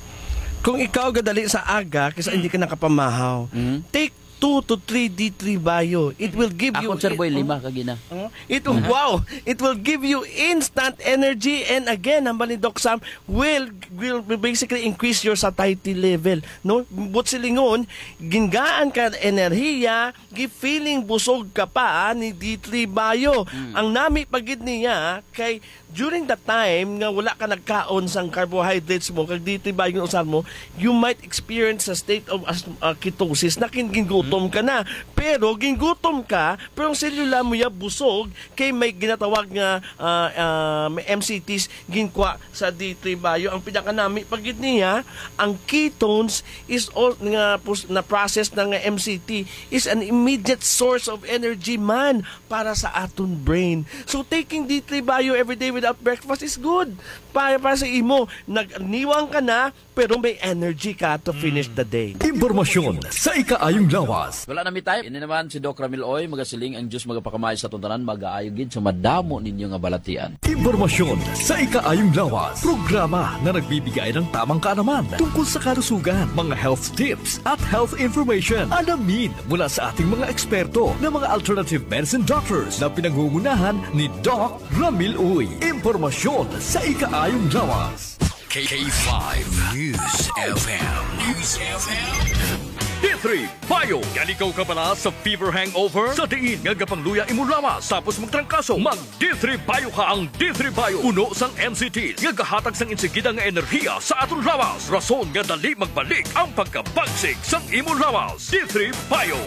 Kung ikaw gadali sa aga, kisa Mm. hindi ka nakapamahaw, Mm. take two to three D three Bio. It will give you Ako, Sir Boy, oh. lima ka gina. Oh, it will, Mhm. wow! It will give you instant energy, and again, hambal ni Doc Sam, will, will basically increase your satiety level, no? But silingon, gingaan ka enerhiya, gi-feeling busog ka pa, ah, ni D three Bio. Mm. Ang nami pa gid niya kay during the time nga wala ka nagkaon sang carbohydrates mo, kag D three Bio ang usar mo, you might experience a state of as-, uh, ketosis na kin-, gingutom ka na. Pero gingutom ka, pero ang selula mo ya busog kay may ginatawag nga, ah, ah, may M C Ts ginkwa sa D three Bio. Ang pinakanami pa gid niya, ang ketones is all nga pus-, na process na nga M C T is an immediate source of energy man para sa aton brain. So, taking D three Bio every day without breakfast is good. Para, para sa imo, nagniwang ka na, pero may energy ka to finish Mm. the day. Impormasyon sa ikaayong lawas. Wala na mi time. Ini naman si Doc Ramil Oy, magasiling ang Diyos magapakamay sa aton tanan, magaayo gid sa madamo ninyo nga balatian. Impormasyon sa ikaayong lawas. Programa na nagbibigay ng tamang kaalaman tungkol sa kalusugan, mga health tips at health information. Alamin mula sa ating mga eksperto na mga alternative medicine doctors na pinangungunahan ni Doc Ramil Uy. Impormasyon sa ikaayong lawas. K five News F M. News F M. Three Bio. Yan ikaw kabala sa fever hangover? Sa diin nga gapangluya imo lawas tapos magtrangkaso, mag D three Bio ka. Ang D three Bio, puno sang M C T nga gahatag sang insigida nga enerhiya sa aton lawas, rason nga dali magbalik ang pagkabagsik sang imo lawas. D three Bio.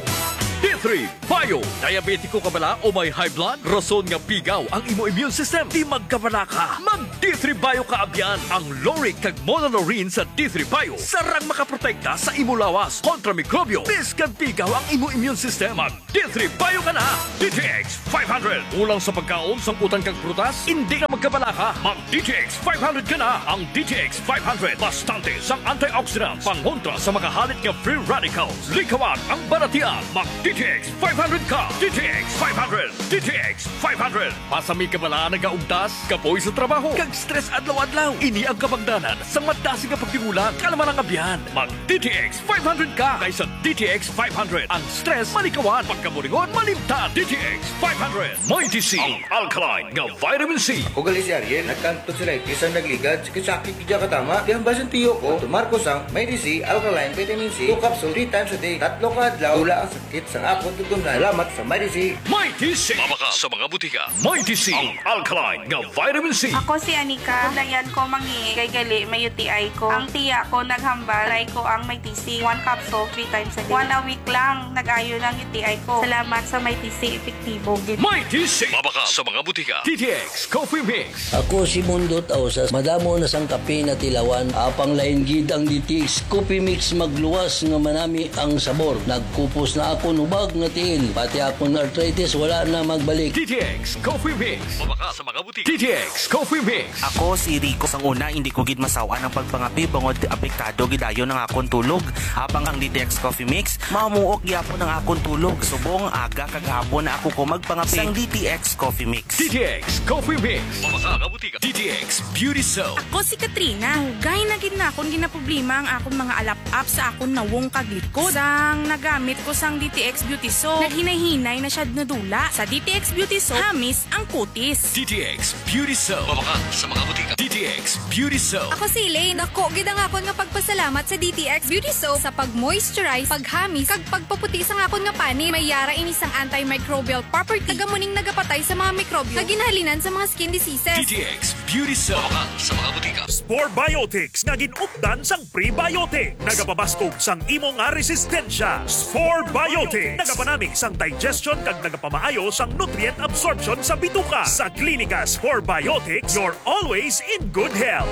D three Bio. Diabetiko ka bala o may high blood? Rason nga pigaw ang imo immune system? Di magkabala ka. Mag D three Bio ka abyan. Ang lauric kag monolaurin sa D three Bio sarang makaprotekta sa imo lawas kontra mikrobyo. Biskag pigaw ang imo immune system, mag D three Bio ka na. D T X five hundred. Kulang sa pagkaon, sangkutan kag prutas? Indi na magkabala ka. Mag D T X five hundred ka na. Ang D T X five hundred, bastante sang antioxidants, pangontra sa mga halit nga free radicals. Likawan ang balatian. Mag D T X five hundred ka. D T X five hundred. D T X five hundred. Pasami ka bala nagaugtas, kapoy sa trabaho, kag stress adlaw-adlaw? Ini ang kabangdanan sang madasig nga pagtigulang. Kalma lang, abyan. Mag D T X five hundred ka, kay sa D T X five hundred, ang stress malikawan, pagkaburingon malimtan. D T X five hundred. Mighty C, ang alkaline nga vitamin C. Ako gali si Ariel, nagkanto sila, eh, bisan nagligad, sakit-sakit, di ka tama. Kaya ang basin tiyo ko, tomar ko sang Mighty C, alkaline vitamin C, two capsule, three times a day. Tatlo ka adlaw, wala ang sakit sang akon tutumlan. Salamat sa Mighty C. Mighty C. Mabakal sa mga butika. Mighty C, ang alkaline nga vitamin C. Ako si Anika. Dayan ko mangi kay gali may U T I ko. Ang tiya ko naghambal, try ko ang Mighty C. One capsule, three times a day. One a week lang, nag-ayo ng U T I ko. Salamat sa Mighty C, epektibo gid. Mighty C. Mabakal sa mga butika. D T X Coffee Mix. Ako si Mundo Tausas. Madamo na sang kape natilawan. Apang lain gid ang D T X Coffee Mix, magluwas nga manami ang sabor. Nagkupos na akon hubag nga tiil. Pati akon arthritis wala na magbalik. D T X Coffee Mix. Mabakal sa mga butika. D T X Coffee Mix. Ako si Rico. Sang una, hindi ko gid masawan ang pagpangape bangod apektado gid dayon ang akon tulog. Apang ang D T X Coffee Mix, mamuok gyapon ang akon tulog. Subong aga kag hapon na ako ko magpangape. Sang D T X Coffee Mix. D T X Coffee Mix. Mabakal sa mga butika. D T X Beauty Soap. Ako si Katrina. Dugay na gid na akon ginaproblema ang akon mga alap-ap sa akon nawong kag likod. Sang nagamit ko sang D T X Beauty Soap, naghinay-hinay na siya nadula. Sa D T X Beauty Soap, hamis ang kutis. D T X Beauty Soap. Mabakal sa mga butika. D T X Beauty Soap. Ako si Elaine. Dako gid ang akon nga pagpasalamat sa D T X Beauty Soap sa pag-moisturize, paghamis, kag pagpaputi sang akon nga panit. May yara ini sang antimicrobial property, kag amo ning nagapatay sa mga mikrobyo nga ginhalinan sa mga skin diseases. D T X Beauty Soap. Mabakal sa mga butika. Spore Biotics nga gin-updan sang prebiotic. Nagapabaskog sang imo nga resistensya. Spore Biotics. Nagapanami sang digestion kag nagapamaayo sang nutrient absorption sa bituka. Sa Klinika Spore Biotics, you're always in good health.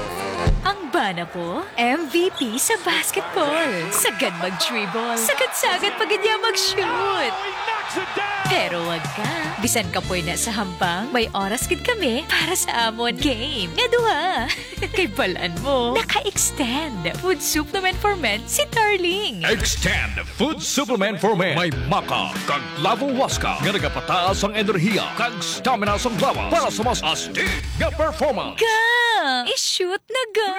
Ang bana ko, M V P sa basketball. Sagad mag-dribble. Sagad-sagad pa gid niya mag-shoot. Pero wag ka. Bisan kapoy na sa hampang, may oras gid kami para sa amon game nga duha. Kay balan mo, naka-extend food supplement for men si Darling. Extend food supplement for men. May maca kag lavo huasca nga nagapataas ang enerhiya kag stamina sang lawas para sa mas astig nga performance. Ga! I-shoot na ga!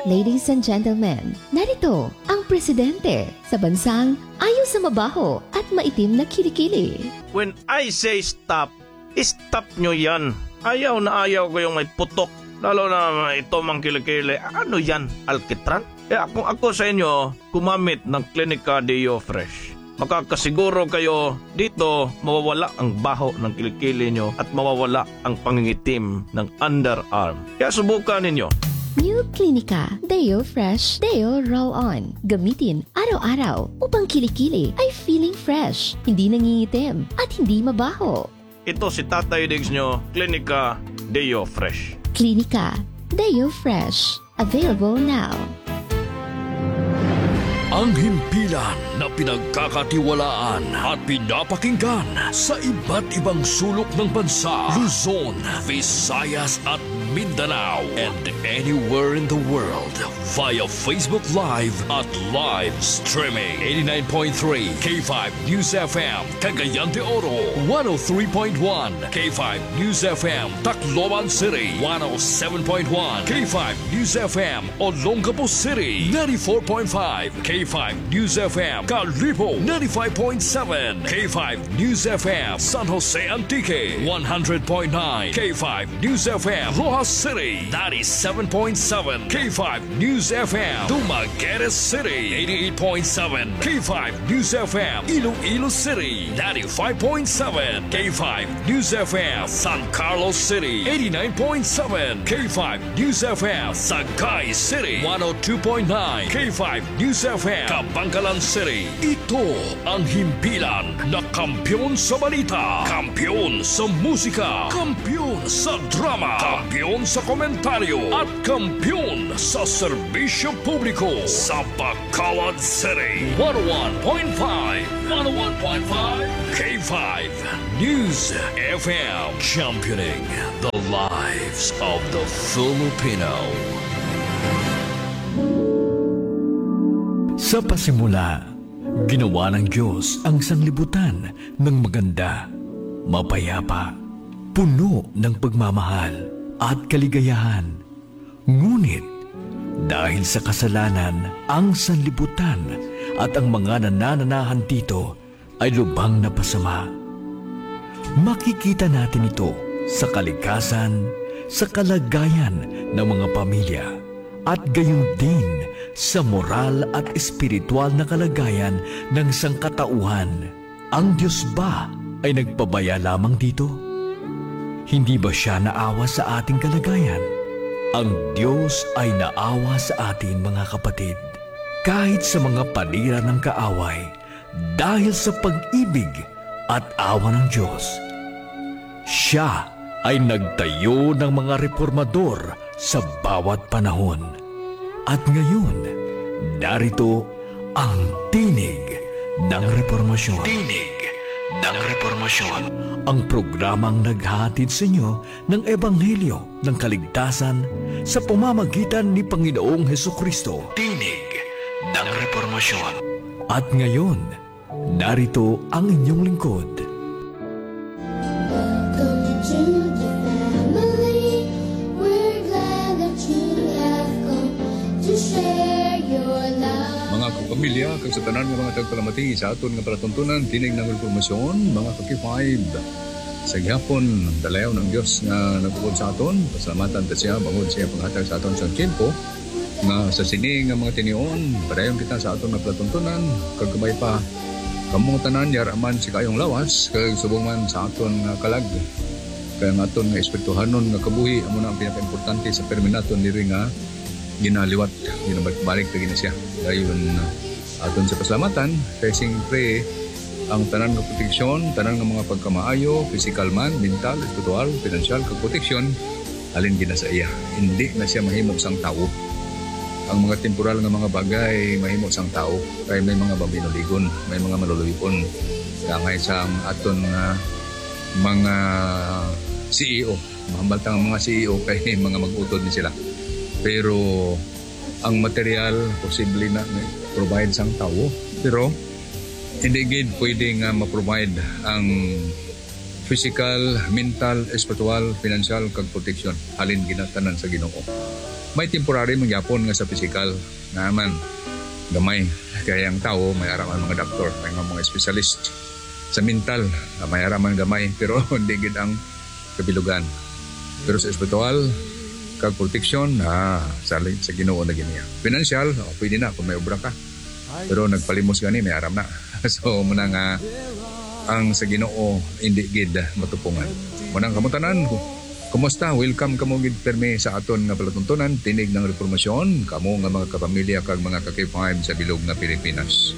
Ladies and gentlemen, narito ang presidente sa bansang ayaw sa mabaho at maitim na kilikili. When I say stop, stop nyo yan. Ayaw na ayaw ko yung may putok. Lalo na ito mang kilikili. Ano yan? Alkitran? Kaya kung ako sa inyo, gumamit ng Clinica Deo Fresh. Makakasiguro kayo dito mawawala ang baho ng kilikili nyo at mawawala ang pangingitim ng underarm. Kaya subukan ninyo. New Clinica Deo Fresh Deo Roll On. Gamitin araw-araw upang kilikili ay feeling fresh, hindi nangingitim, at hindi mabaho. Ito si Tatay Diggs nyo, Clinica Deo Fresh. Clinica Deo Fresh. Available now. Ang himpilan na pinagkakatiwalaan at pinapakinggan sa iba't ibang sulok ng bansa, Luzon, Visayas at Mindanao, and anywhere in the world via Facebook Live at live streaming. Eighty-nine point three K five News F M, Cagayan de Oro, one oh three point one K five News F M, Tacloban City, one oh seven point one K five News F M, Olongapo City, ninety-four point five K K five News F M, Kalibo, ninety-five point seven. K five News F M, San Jose Antique, one hundred point nine. K five News F M, Roxas City, ninety-seven point seven. K five News F M, Dumaguete City, eighty-eight point seven. K five News F M, Iloilo City, ninety-five point seven. K five News F M, San Carlos City, eighty-nine point seven. K five News F M, Sagay City, one oh two point nine. K five News F M, Kabankalan City. Ito ang himpilan na kampiyon sa balita, kampiyon sa musika, kampiyon sa drama, kampiyon sa komentaryo, at kampiyon sa serbisyo publiko sa Bacolod City. One oh one point five, one oh one point five K five News F M, championing the lives of the Filipino. Sa pasimula, ginawa ng Diyos ang sanglibutan ng maganda, mapayapa, puno ng pagmamahal at kaligayahan. Ngunit, dahil sa kasalanan, ang sanlibutan at ang mga nanananahan dito ay lubhang napasama. Makikita natin ito sa kalikasan, sa kalagayan ng mga pamilya, at gayon din sa moral at espiritual na kalagayan ng sangkatauhan. Ang Diyos ba ay nagpabaya lamang dito? Hindi ba siya naawa sa ating kalagayan? Ang Diyos ay naawa sa atin, mga kapatid, kahit sa mga panira ng kaaway, dahil sa pag-ibig at awa ng Diyos. Siya ay nagtayo ng mga reformador sa bawat panahon. At ngayon, narito ang Tinig ng Reformasyon. Tinig ng Reformasyon. Ang programang naghahatid sa inyo ng ebanghelyo ng kaligtasan sa pamamagitan ni Panginoong Hesukristo. Tinig ng Reformasyon. At ngayon, narito ang inyong lingkod. Welcome to the family. We're glad that you have come to share your love. Mga kapamilya, kag sa tanan nga mga tagpalamati sa aton nga palatuntunan, Tinig ng Reformasyon, mga ka-K five. Sa gihapon, dalayaw ng Dios nga nagbuod sa aton. Pasalamatan ta siya, bangod siya panghatag sa aton sa tiyempo, nga sa sini nga mga tinion, padayon kita sa aton nga palatuntunan, kag kabay pa, kamo tanan, yara man sa kaayong lawas, kag subong man sa aton nga kalag. Kay ang aton nga espirituhanon nga kabuhi, amo na ang pinakaimportante sa pirmi naton diri nga ginaliwat, ginabalik-balik lagi na siya. Dayon, aton sa pasalamatan, kay siyempre, ang tanan nga proteksyon, tanan nga mga pagkamaayo, pisikal man, mental, espiritual, pinansyal, kag proteksyon, halin gid na sa iya. Hindi na siya mahimo sang tawo. Ang mga temporal nga mga bagay mahimo sang tawo, kay may mga mabinuligon, may mga maluluy-on. Kangay sang aton nga mga C E O. Mahambal ta nga mga C E O kay mga mag-utod ni sila. Pero ang material, posible na provide sang tawo. Pero hindi gid pwede nga ma-provide ang physical, mental, espiritual, financial, kag protection. Halin ginatanan sa Ginoo. May temporary man gyapon nga sa physical, nga man, gamay. Kaya ang tawo, may ara man mga doktor, may nga mga specialist. Sa mental, may ara man gamay, pero hindi gid ang kabilugan. Pero sa espiritual, kag protection, ah, sa, sa Ginoo na gid niya. Financial, oh, pwede na kung may obra ka. Pero nagpalimos gani, may aram na. So, muna nga, ang sa Ginoo, hindi gid matupungan. Muna nga kamo tanan, kumusta? Welcome kamo gid permi sa aton nga palatuntunan, Tinig ng Reformasyon, kamo nga mga kapamilya kag mga ka-K five sa bilog nga Pilipinas.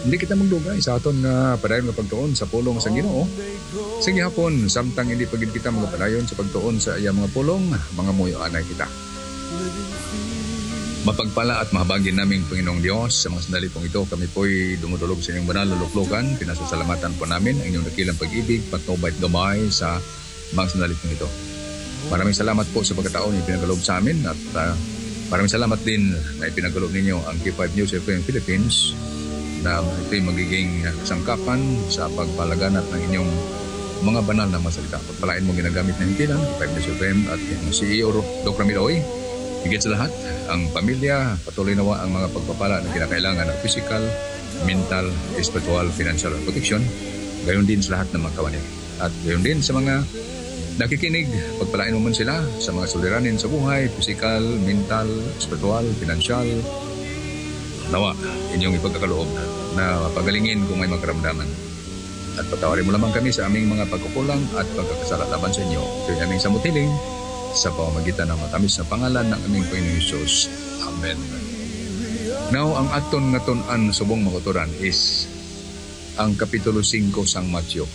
Hindi kita magdugay sa aton nga padayon nga pagtuon sa pulong sa Ginoo. Sa gihapon, samtang hindi pa gid kita magapadayon sa pagtuon sa iya mga pulong, mangamuyo anay kita. Mapagpala at mahabagin naming Panginoong Dios, sa mga sandali pong ito, kami po'y dumudulog sa inyong banal na luklukan. Pinasasalamatan po namin ang inyong dakilang pag-ibig, patnubay at gabay sa mga sandali pong ito. Maraming salamat po sa pagkataon na ipinagkaloob sa amin at, ah, maraming salamat din na ipinagkaloob ninyo ang K five News F M Philippines na ito'y magiging kasangkapan sa pagpalaganap ng inyong mga banal na mga salita. Pagpalain mo ginagamit na himpilan, K five News F M at ang C E O Ro-, Doc Ramil Oy. Higit sa lahat, ang pamilya, patuloy nawa ang mga pagpapala na kinakailangan ng physical, mental, espiritual, financial, at protection, gayon din sa lahat ng mga kawani. At gayon din sa mga nakikinig, pagpalain mo man sila sa mga suliranin sa buhay, physical, mental, espiritual, financial. Nawa, inyong ipagkakaloob na pagalingin kung may makaramdaman. At patawarin mo lamang kami sa aming mga pagkukulang at pagkakasala laban sa inyo. Ito'y aming samot hiling sa pamamagitan ng matamis na pangalan ng aming Panginoong Hesus. Amen. Now, ang aton nga tun-an subong mga kauturan is ang Kapitulo singko sang Mateo.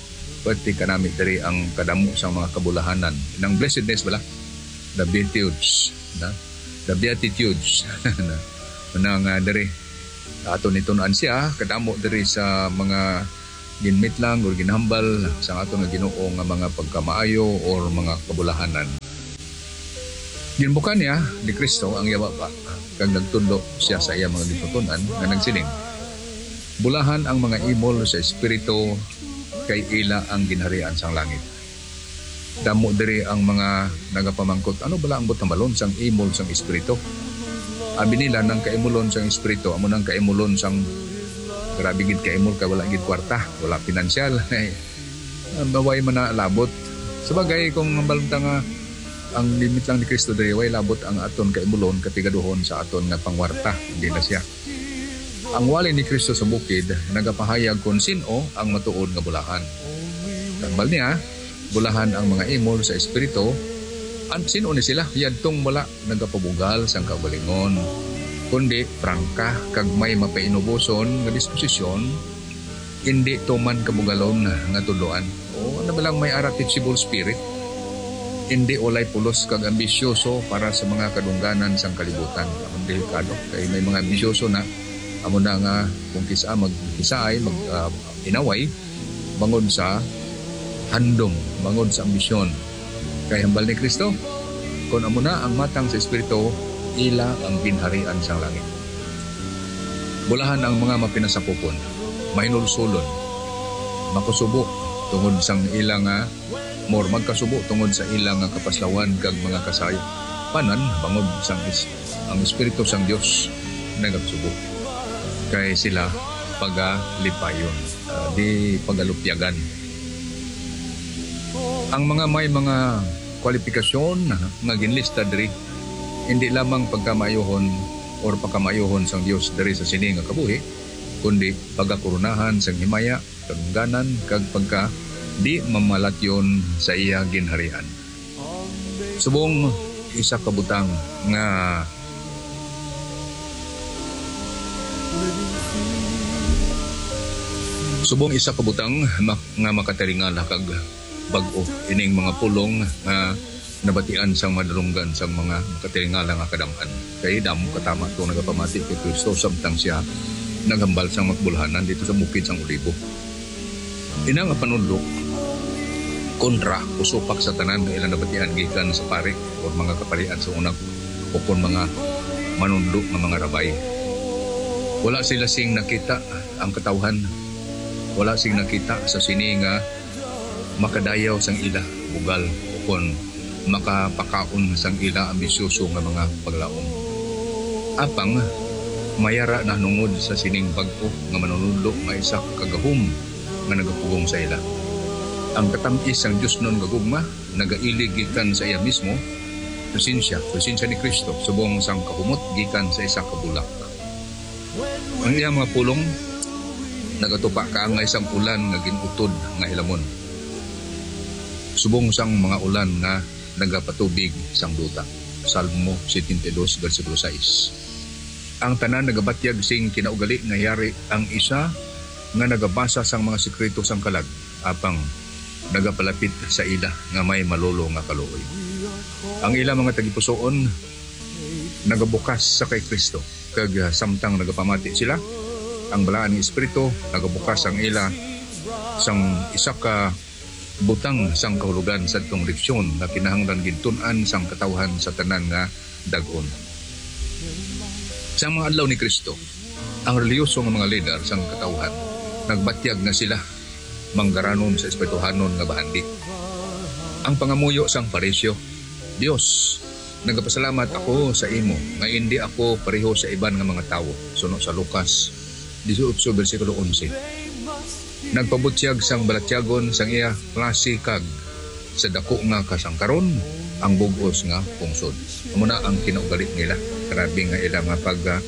Pwerte kanami diri ang kadamo sang mga kabulahanan. Nang blessedness bala? The Beatitudes, na? The Beatitudes. Na, na nga diri. Aton nitun-an siya, kadamo diri sa mga ginmitlang or ginhambal sa aton nga Ginoo nga mga pagkamaayo or mga kabulahanan. Ginbuka niya ni Kristo ang iya baba, kag nagtudlo siya sa iya mga gintuton-an nga nagsiling, "Bulahan ang mga imol sa espiritu, kay ila ang ginharian sang langit." Damo diri ang mga nagapamangkot, "Ano bala ang buot hambalon sang imol sang espiritu?" Abi nila, nang kaimulon sang espiritu amo nang kaimulon sang grabe gid kaimol, kay wala gid kwarta, wala pinansyal. Maway man na labot. Sabagay, kung ang balunta nga ang limit lang ni Kristo diri, way labot ang aton kaimulon, kapigaduhon sa aton nga pangwarta. Hindi na siya. Ang wali ni Kristo sa bukid nagapahayag kon sin-o ang matuod nga bulahan. Tambal niya, bulahan ang mga imol sa espiritu. An-, sin-o ni sila? Yadtong wala nagapabugal sang kaugalingon, kundi prangka kag may mapainuboson nga disposisyon, indi tuman kabugalon nga tudloan. O, ano ba lang may ara teachable spirit? Indi walay pulos kag ambisyoso para sa mga kadungganan sang kalibutan. Ang delikado kay may mga ambisyoso na amo na nga kung kisa magkisaay, mag, ah, inaway, bangod sa handom, bangod sa ambisyon. Kay hambal ni Kristo, "Kon amo na ang matang sa espiritu, ila ang ginharian sang langit." Bulahan ang mga mapinasakupon, mahinulsolon, makusubo tungod sang ila nga, more, magkasubo tungod sa ila nga kapaslawan kag mga kasaypanan, bangod sang is-, ang Espiritu sang Dios nagasubo, kay sila pagalipayon, ah, di pagalupyagan. Ang mga may mga kwalipikasyon nga ginlista diri, hindi lamang pagkamaayohon or pagkamaayohon sang Dios diri sa sini nga kabuhi, kundi pagakoronahan sang himaya, kadungganan, kag pagka di mamalatyon sa iya ginharian. Subong isa ka butang nga, subong isa ka butang mak-, nga makataringala kag bag-o ining mga pulong nga nabatian sang madalunggan sang mga makataringala nga kadam-an. Kay damo katama to nagapamati kay Kristo samtang siya naghambal sang makabulhanan dito sa bukid sang Olibo. Ina nga panudlo kontra o supak sa tanan nga ilang nabatian gikan sa pari o mga kaparian sa una, o kon mga manudlo nga mga rabay. Wala sila sing nakita ang katawhan. Wala sing nakita sa sini nga makadayaw sang ila bugal, o kon makapakaon sang ila ambisyoso nga mga paglaom. Apang mayara nahanungod sa sining bag-o nga manunudlo nga isa ka gahom nga nagapugong sa ila. Ang katam-is sang diosnon nga gugma nagailig gikan sa iya mismo presensya, presensya ni Kristo, subong sang kahumot gikan sa isa ka bulak. Ang iyang mga pulong nagatupa kaangay sang ulan nga gin-utod nga hilamon, subong sang mga ulan nga nagapatubig sang duta. Salmo setenta y dos, bersikulo sais. Ang tanan nagabatyag sing kinaugali nga yari ang isa nga nagabasa sang mga sekreto sang kalag, apang nagapalapit sa ila nga may malolo nga kaluoy. Ang ila mga tagipusoon nagabukas sa kay Kristo, kag, ah, samtang nagapamati sila, ang Balaan nga Espiritu nagabukas ang ila sang isa ka butang sang kahulogan sadtong leksyon nga kinahanglan gintun-an sang katawhan sa tanan nga dag-on. Sa mga adlaw ni Kristo, ang relihiyoso nga mga lider sang katawhan nagbatyag nga sila manggaranon sa espirituhanon nga bahandi. Ang pangamuyo sang Fariseo, Dios, Nagapasalamat ako sa imo nga indi ako pareho sa iban nga mga tawo, suno sa Lucas dieciocho, bersikulo onse. Nagpabutyag sang balatyagon sang iya klase kag sa dako nga kasangkaron ang bug-os nga pungsod. Amo na ang kinaugali nila. Grabe nga ila nga pag, ah,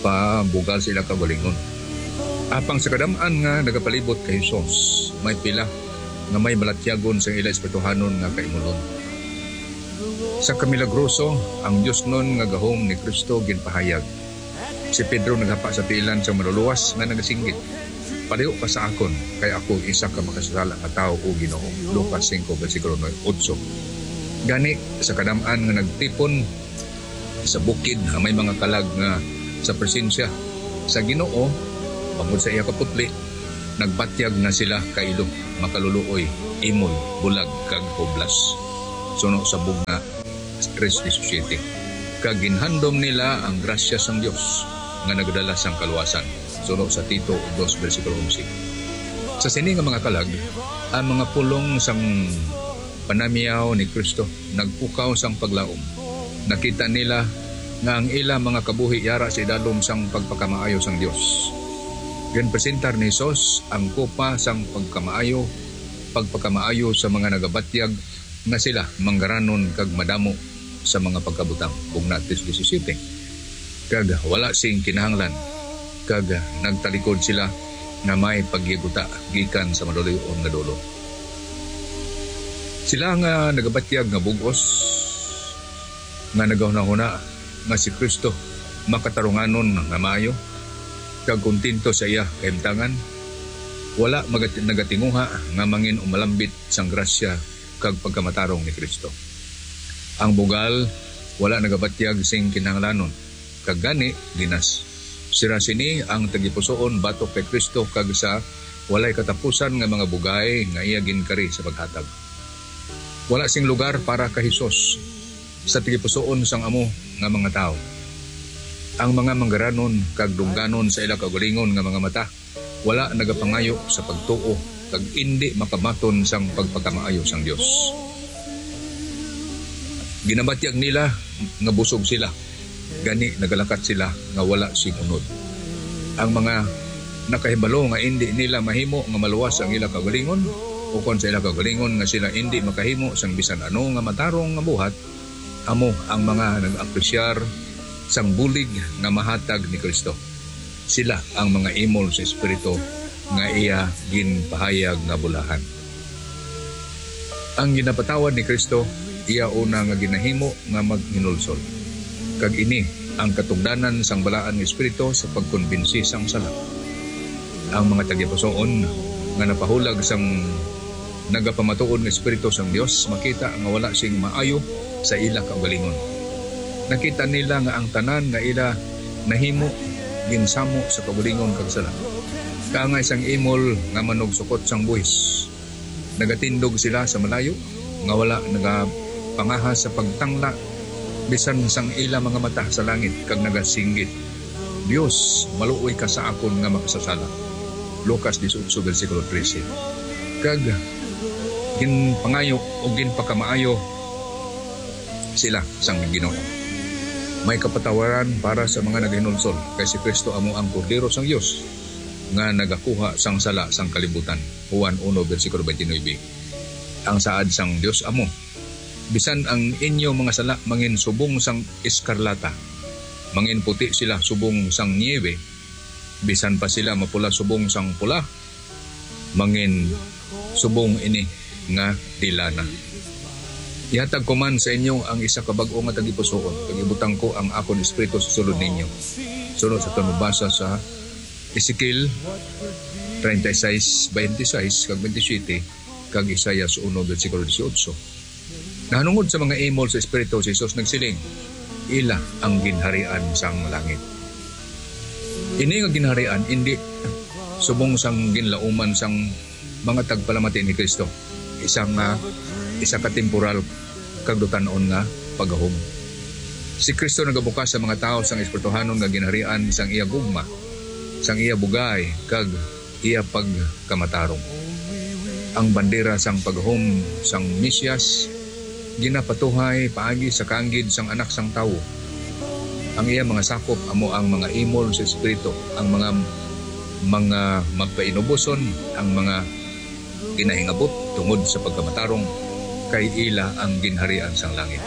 pabugal sa ila kaugalingon. Apang sa kadam-an nga nagapalibot kay Jesus, may pila nga may balatyagon sang ila espirituhanon nga kaimulon. Sa kamilagroso, ang diosnon nga gahom ni Cristo ginpahayag. Si Pedro naghapa sa tiilan sang Manluluwas nga nagasinggit, "Palayo ka sa akon, kay ako isa ka makasasala nga tawo, O Ginoo." Lucas singko, bersikulo otso. Gani, sa kadam-an nga nagtipon sa bukid nga may mga kalag nga sa presensya sa Ginoo, bangod sa iya kaputli, nagbatyag na sila kailo, makaluluoy, imol, bulag, kag hublas, suno sa bugna tres diecisiete, kag ginhandom nila ang grasya sang Dios nga nagdala sang kaluwasan, suno sa Tito dos, bersikulo onse. Sa sini nga mga kalag, ang mga pulong sang panamiyaw ni Cristo nagpukaw sang paglaom. Nakita nila nga ang ila mga kabuhi yara sa idalom sang pagpakamaayo sang Dios. Ginpresentar ni Jesus ang kopa sang pagkamaayo, pagpakamaayo sa mga nagabatyag nga sila manggaranon kag madamo sa mga pagkabutang, bugna tres diecisiete, kag wala sing kinahanglan, kag nagtalikod sila nga may pagyaguta gikan sa maluloy-on nga dolo. Sila nga nagabatyag nga bug-os, nga nagahunahuna nga si Cristo makatarunganon nga maayo, kag kontento sa iya kahimtangan, wala magat-, nagatinguha nga mangin umalambit sang grasya kag pagkamatarong ni Cristo. Ang bugal wala nagabatyag sing kinahanglanon, kag gani ginas. Sira sini ang tagipusoon batok kay Cristo kag sa walay katapusan nga mga bugay nga iya ginkari sa paghatag. Wala sing lugar para kay Jesus sa tagipusoon sang amo nga mga tawo. Ang mga manggaranon kag dungganon sa ila kaugalingon nga mga mata wala nagapangayo sa pagtuo kag indi makabaton sang pagpakamaayo sang Dios. Ginabatyag nila nga busog sila, gani nagalakat sila nga wala sing unod. Ang mga nakahibalo nga indi nila mahimo nga maluwas ang ila kaugalingon, ukon sa ila kaugalingon nga sila indi makahimo sang bisan ano nga matarong nga buhat, amo ang mga nag-apresyar sang bulig nga mahatag ni Cristo. Sila ang mga imol sa Espiritu nga iya ginpahayag nga bulahan. Ang ginapatawad ni Cristo, iya una nga ginahimo nga maghinulsol. Kag ini ang katugdanan sang Balaan nga Espiritu sa pagkumbinsi sang sala. Ang mga tagipusoon nga napahulag sang nagapamatuod nga Espiritu sang Dios makita nga wala sing maayo sa ila kaugalingon. Nakita nila nga ang tanan nga ila nahimo ginsamo sa kaugalingon kag sala. Kaangay sang imol nga manugsukot sang buhis, nagatindog sila sa malayo nga wala nagapangahas sa pagtangla bisan sang ila mga mata sa langit kag nagasinggit, "Dios, maluoy ka sa akon nga makasasala." Lucas dieciocho, bersikulo trese. Kag ginpangayo o ginpakamaayo sila sang Ginoo. May kapatawaran para sa mga naghinulsol, kay si Cristo amo ang Kordero sang Dios nga nagakuha sang sala sang kalibutan. Juan uno, bersikulo twenty-nine. Ang saad sang Dios amo, "Bisan ang inyo mga sala mangin subong sang eskarlata, mangin puti sila subong sang niyebe, bisan pa sila mapula subong sang pula, mangin subong ini nga tila na." Ihatag ko man sa inyo ang isa ka bag-o nga tagipusoon, kag ibutang ko ang akon Espiritu sa sulod ninyo. Sunod sa aton mabasa sa Ezekiel treinta y seis, veintiséis kag veintisiete, kag Isaias uno, bersikulo dieciocho. Nahanungod sa mga imol sa Espiritu, si Jesus nagsiling, "Ila ang ginharian sang langit." Ini nga ginharian indi subong sang ginlauman sang mga tagpalamati ni Cristo, isa nga, isa ka temporal kag dutan-on nga pagahom. Si Cristo nagabukas sa mga tawo sang espirituhanon nga ginharian sang iya gugma, sang iya bugay, kag iya pagkamatarong. Ang bandera sang pagahom sang Mesiyas ginapatuhay paagi sa kaanggid sang Anak sang Tawo. Ang iya mga sakop amo ang mga imol sa Espiritu, ang mga, mga magpainuboson, ang mga ginahingabot tungod sa pagkamatarong, kay ila ang ginharian sang langit.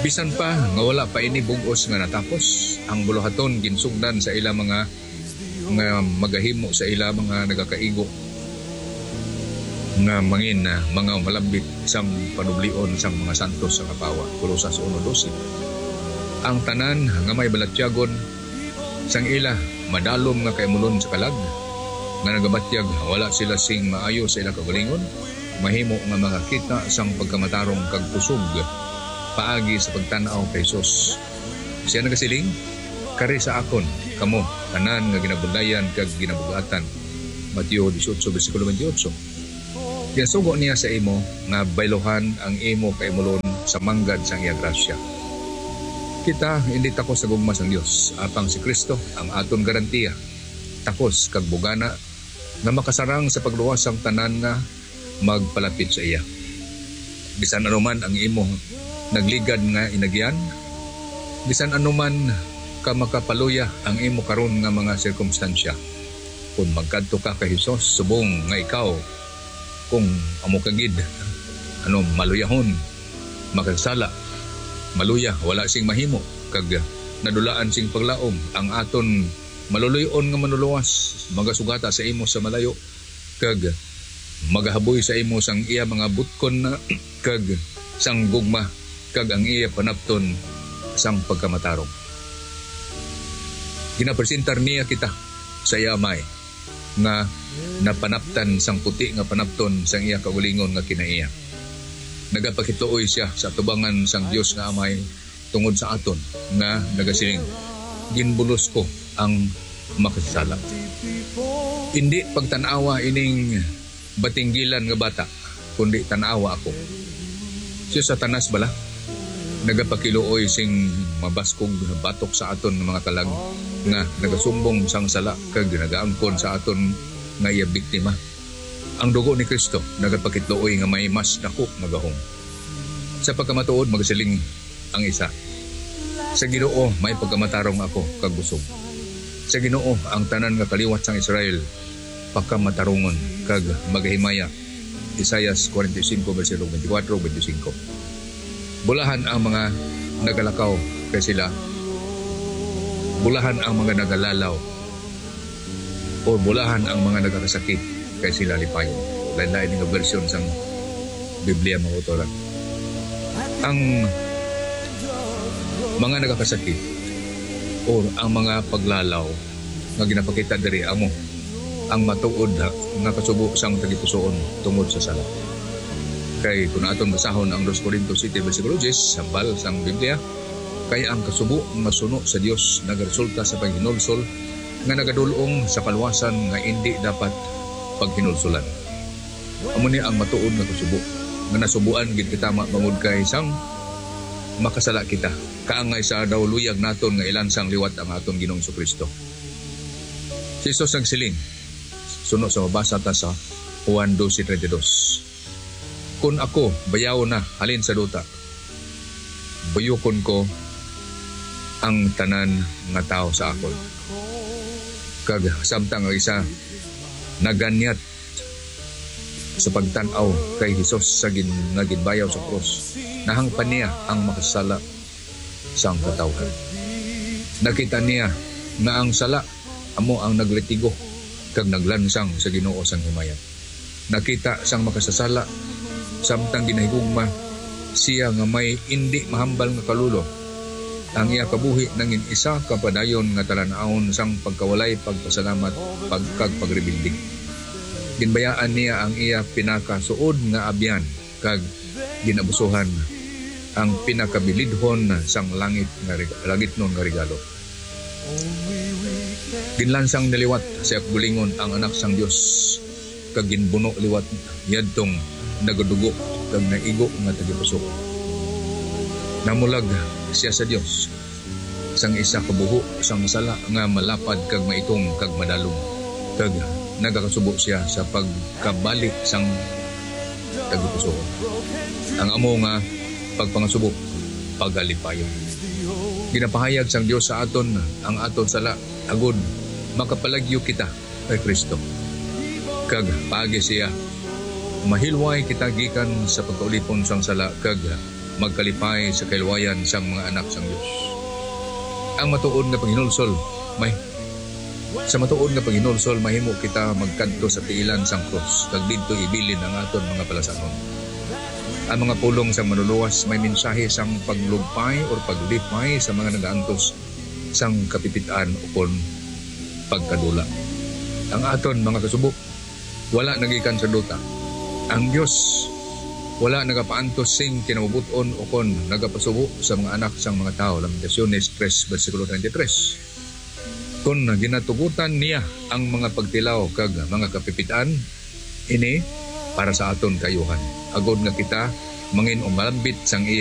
Bisan pa nga wala pa ini bug-os nga natapos, ang buluhaton ginsugdan sa ila mga nga magahimo sa ila mga nagakaigo nga mangin, ah, mga malambit sang panublion sang mga santos sa kapawa. Colosas uno doce. Ang tanan nga may balatyagon sang ila madalom nga kaimulon sa kalag, nga nagabatyag wala sila sing maayo sa ila kaugalingon, mahimo nga makakita sang pagkamatarong kag kusog paagi sa pagtan-aw kay Jesus. Siya nagasiling, "Kari sa akon, kamo tanan nga ginabundayan kag ginabug-atan." Mateo dieciocho, bersikulo twenty-eight. Ginsugo niya sa imo nga bayluhan ang imo kaimulon sa manggad sang iya grasya. Kita indi takos sa gugma sang Dios, apang si Cristo ang aton garantiya, takos kag bugana nga makasarang sa pagluwas sang tanan nga magpalapit sa iya. Bisan ano man ang imo nagligad nga inagyan, bisan ano man ka makapaluya ang imo karon nga mga sirkumstansya, kon magkadto ka kay Jesus subong nga ikaw, kung amo ka gid, ano, maluyahon, makasala, maluya, wala sing mahimo, kag nadulaan sing paglaom ang aton maluloy-on nga Manluluwas, magasugata sa imo sa malayo, kag magahaboy sa imo sang iya mga butkon na kag sang gugma, kag ang iya panapton sang pagkamatarong. Ginapresentar niya kita sa iya Amay, nga napanaptan sang puti nga panapton sang iya kaugalingon nga kinaiya. Nagapakituoy siya sa atubangan sang Dios nga Amay tungod sa aton, nga nagasiling, "Ginbulos ko ang makasasala." Indi pagtan-awa ining batinggilan nga bata, kundi tan-awa ako. Si Satanas bala nagapakiluoy sing mabaskog batok sa aton nga mga kalag nga nagasumbong sang sala kag nagaangkon sa aton nga iya biktima. Ang dugo ni Cristo nagapakitluoy nga may mas dako nga gahom. Sa pagkamatuod, magasiling ang isa, "Sa Ginoo may pagkamatarong ako kag busog. Sa Ginoo ang tanan nga kaliwat sang Israel pakamatarungon kag magahimaya." Isaias forty-five, bersikulo twenty-four, twenty-five. Bulahan ang mga nagalakaw kay sila, bulahan ang mga nagalalaw, o bulahan ang mga nagakasakit kay sila lipayon. Lain-lain nga bersyon sang Biblia, mga kautoran. Ang mga nagakasakit or ang mga paglalaw nga ginapakita diri amo ang matuod nga kasubo sang tagipusoon tungod sa sala. Kay kung aton basahon ang dos Corinto siete, bersikulo diyes, hambal sang Biblia, kay ang kasubo nga suno sa Dios nagaresulta sa paghinulsol nga nagadul-ong sa kaluwasan nga indi dapat paghinulsolan. Amo ni ang matuod nga kasubo, nga nasubuan gid kita ma-, bangod kay sang makasala kita, kaangay sa daw luyag naton nga ilansang liwat ang aton Ginoong Kristo. Si Jesus nagsiling, suno sa mabasa ta sa Juan doce treinta y dos, "Kun ako bayawon na halin sa duta, buyokon ko ang tanan nga tawo sa akon." Kag samtang ang isa naganyat sa pagtan-aw kay Jesus sa gin-, nga ginbayaw sa krus, nahangpan niya ang makasala sang katawhan. Nakita niya nga ang sala amo ang naglitigo kag naglansang sa Ginoo sang himaya. Nakita sang makasasala, samtang ginahigugma siya nga may indi mahambal nga kalulo, ang iya kabuhi nangin isa ka padayon nga talan-awon sang pagkawalay pagpasalamat, pag-, kag pagrebelde. Ginbayaan niya ang iya pinakasuod nga abyan kag ginabusuhan ang pinakabilidhon sang langit nga reg-, langitnon nga regalo. Ginlansang na liwat sa iya kaugalingon ang Anak sang Dios, kag ginbuno liwat niadtong nagadugo kag naigo nga tagipusoon. Namulag siya sa Dios sang isa ka buho sang sala nga malapad kag maitom kag madalom, kag nagakasubo siya sa pagkabali sang tagipusoon. Ang amo nga pagpangasubo, pagalipayon. Ginapahayag sang Dios sa aton ang aton sala, agod makapalagyo kita kay Cristo. Kag paagi siya, mahilway kita gikan sa pagkaulipon sang sala kag magkalipay sa kahilwayan sang mga anak sang Dios. Ang matuod nga paghinulsol, may sa matuod nga paghinulsol, mahimo kita magkadto sa tiilan sang krus kag didto ibilin ang aton mga palasanon. Ang mga pulong sang Manlulowas may mensahe sang paglugpay or paglipay sa mga nagaantos sang kapipit-an ukon pagkadula. Ang aton mga kasubo wala nagikan sa duta. Ang Dios wala nagapaantos sing kinamabut-on ukon nagapasubo sa mga anak sang mga tawo. Lamentaciones tres, bersikulo treinta y tres. Kon ginatugutan niya ang mga pagtilaw kag mga kapipit-an, ini para sa aton kaayuhan, agod nga kita mangin-umalambit sang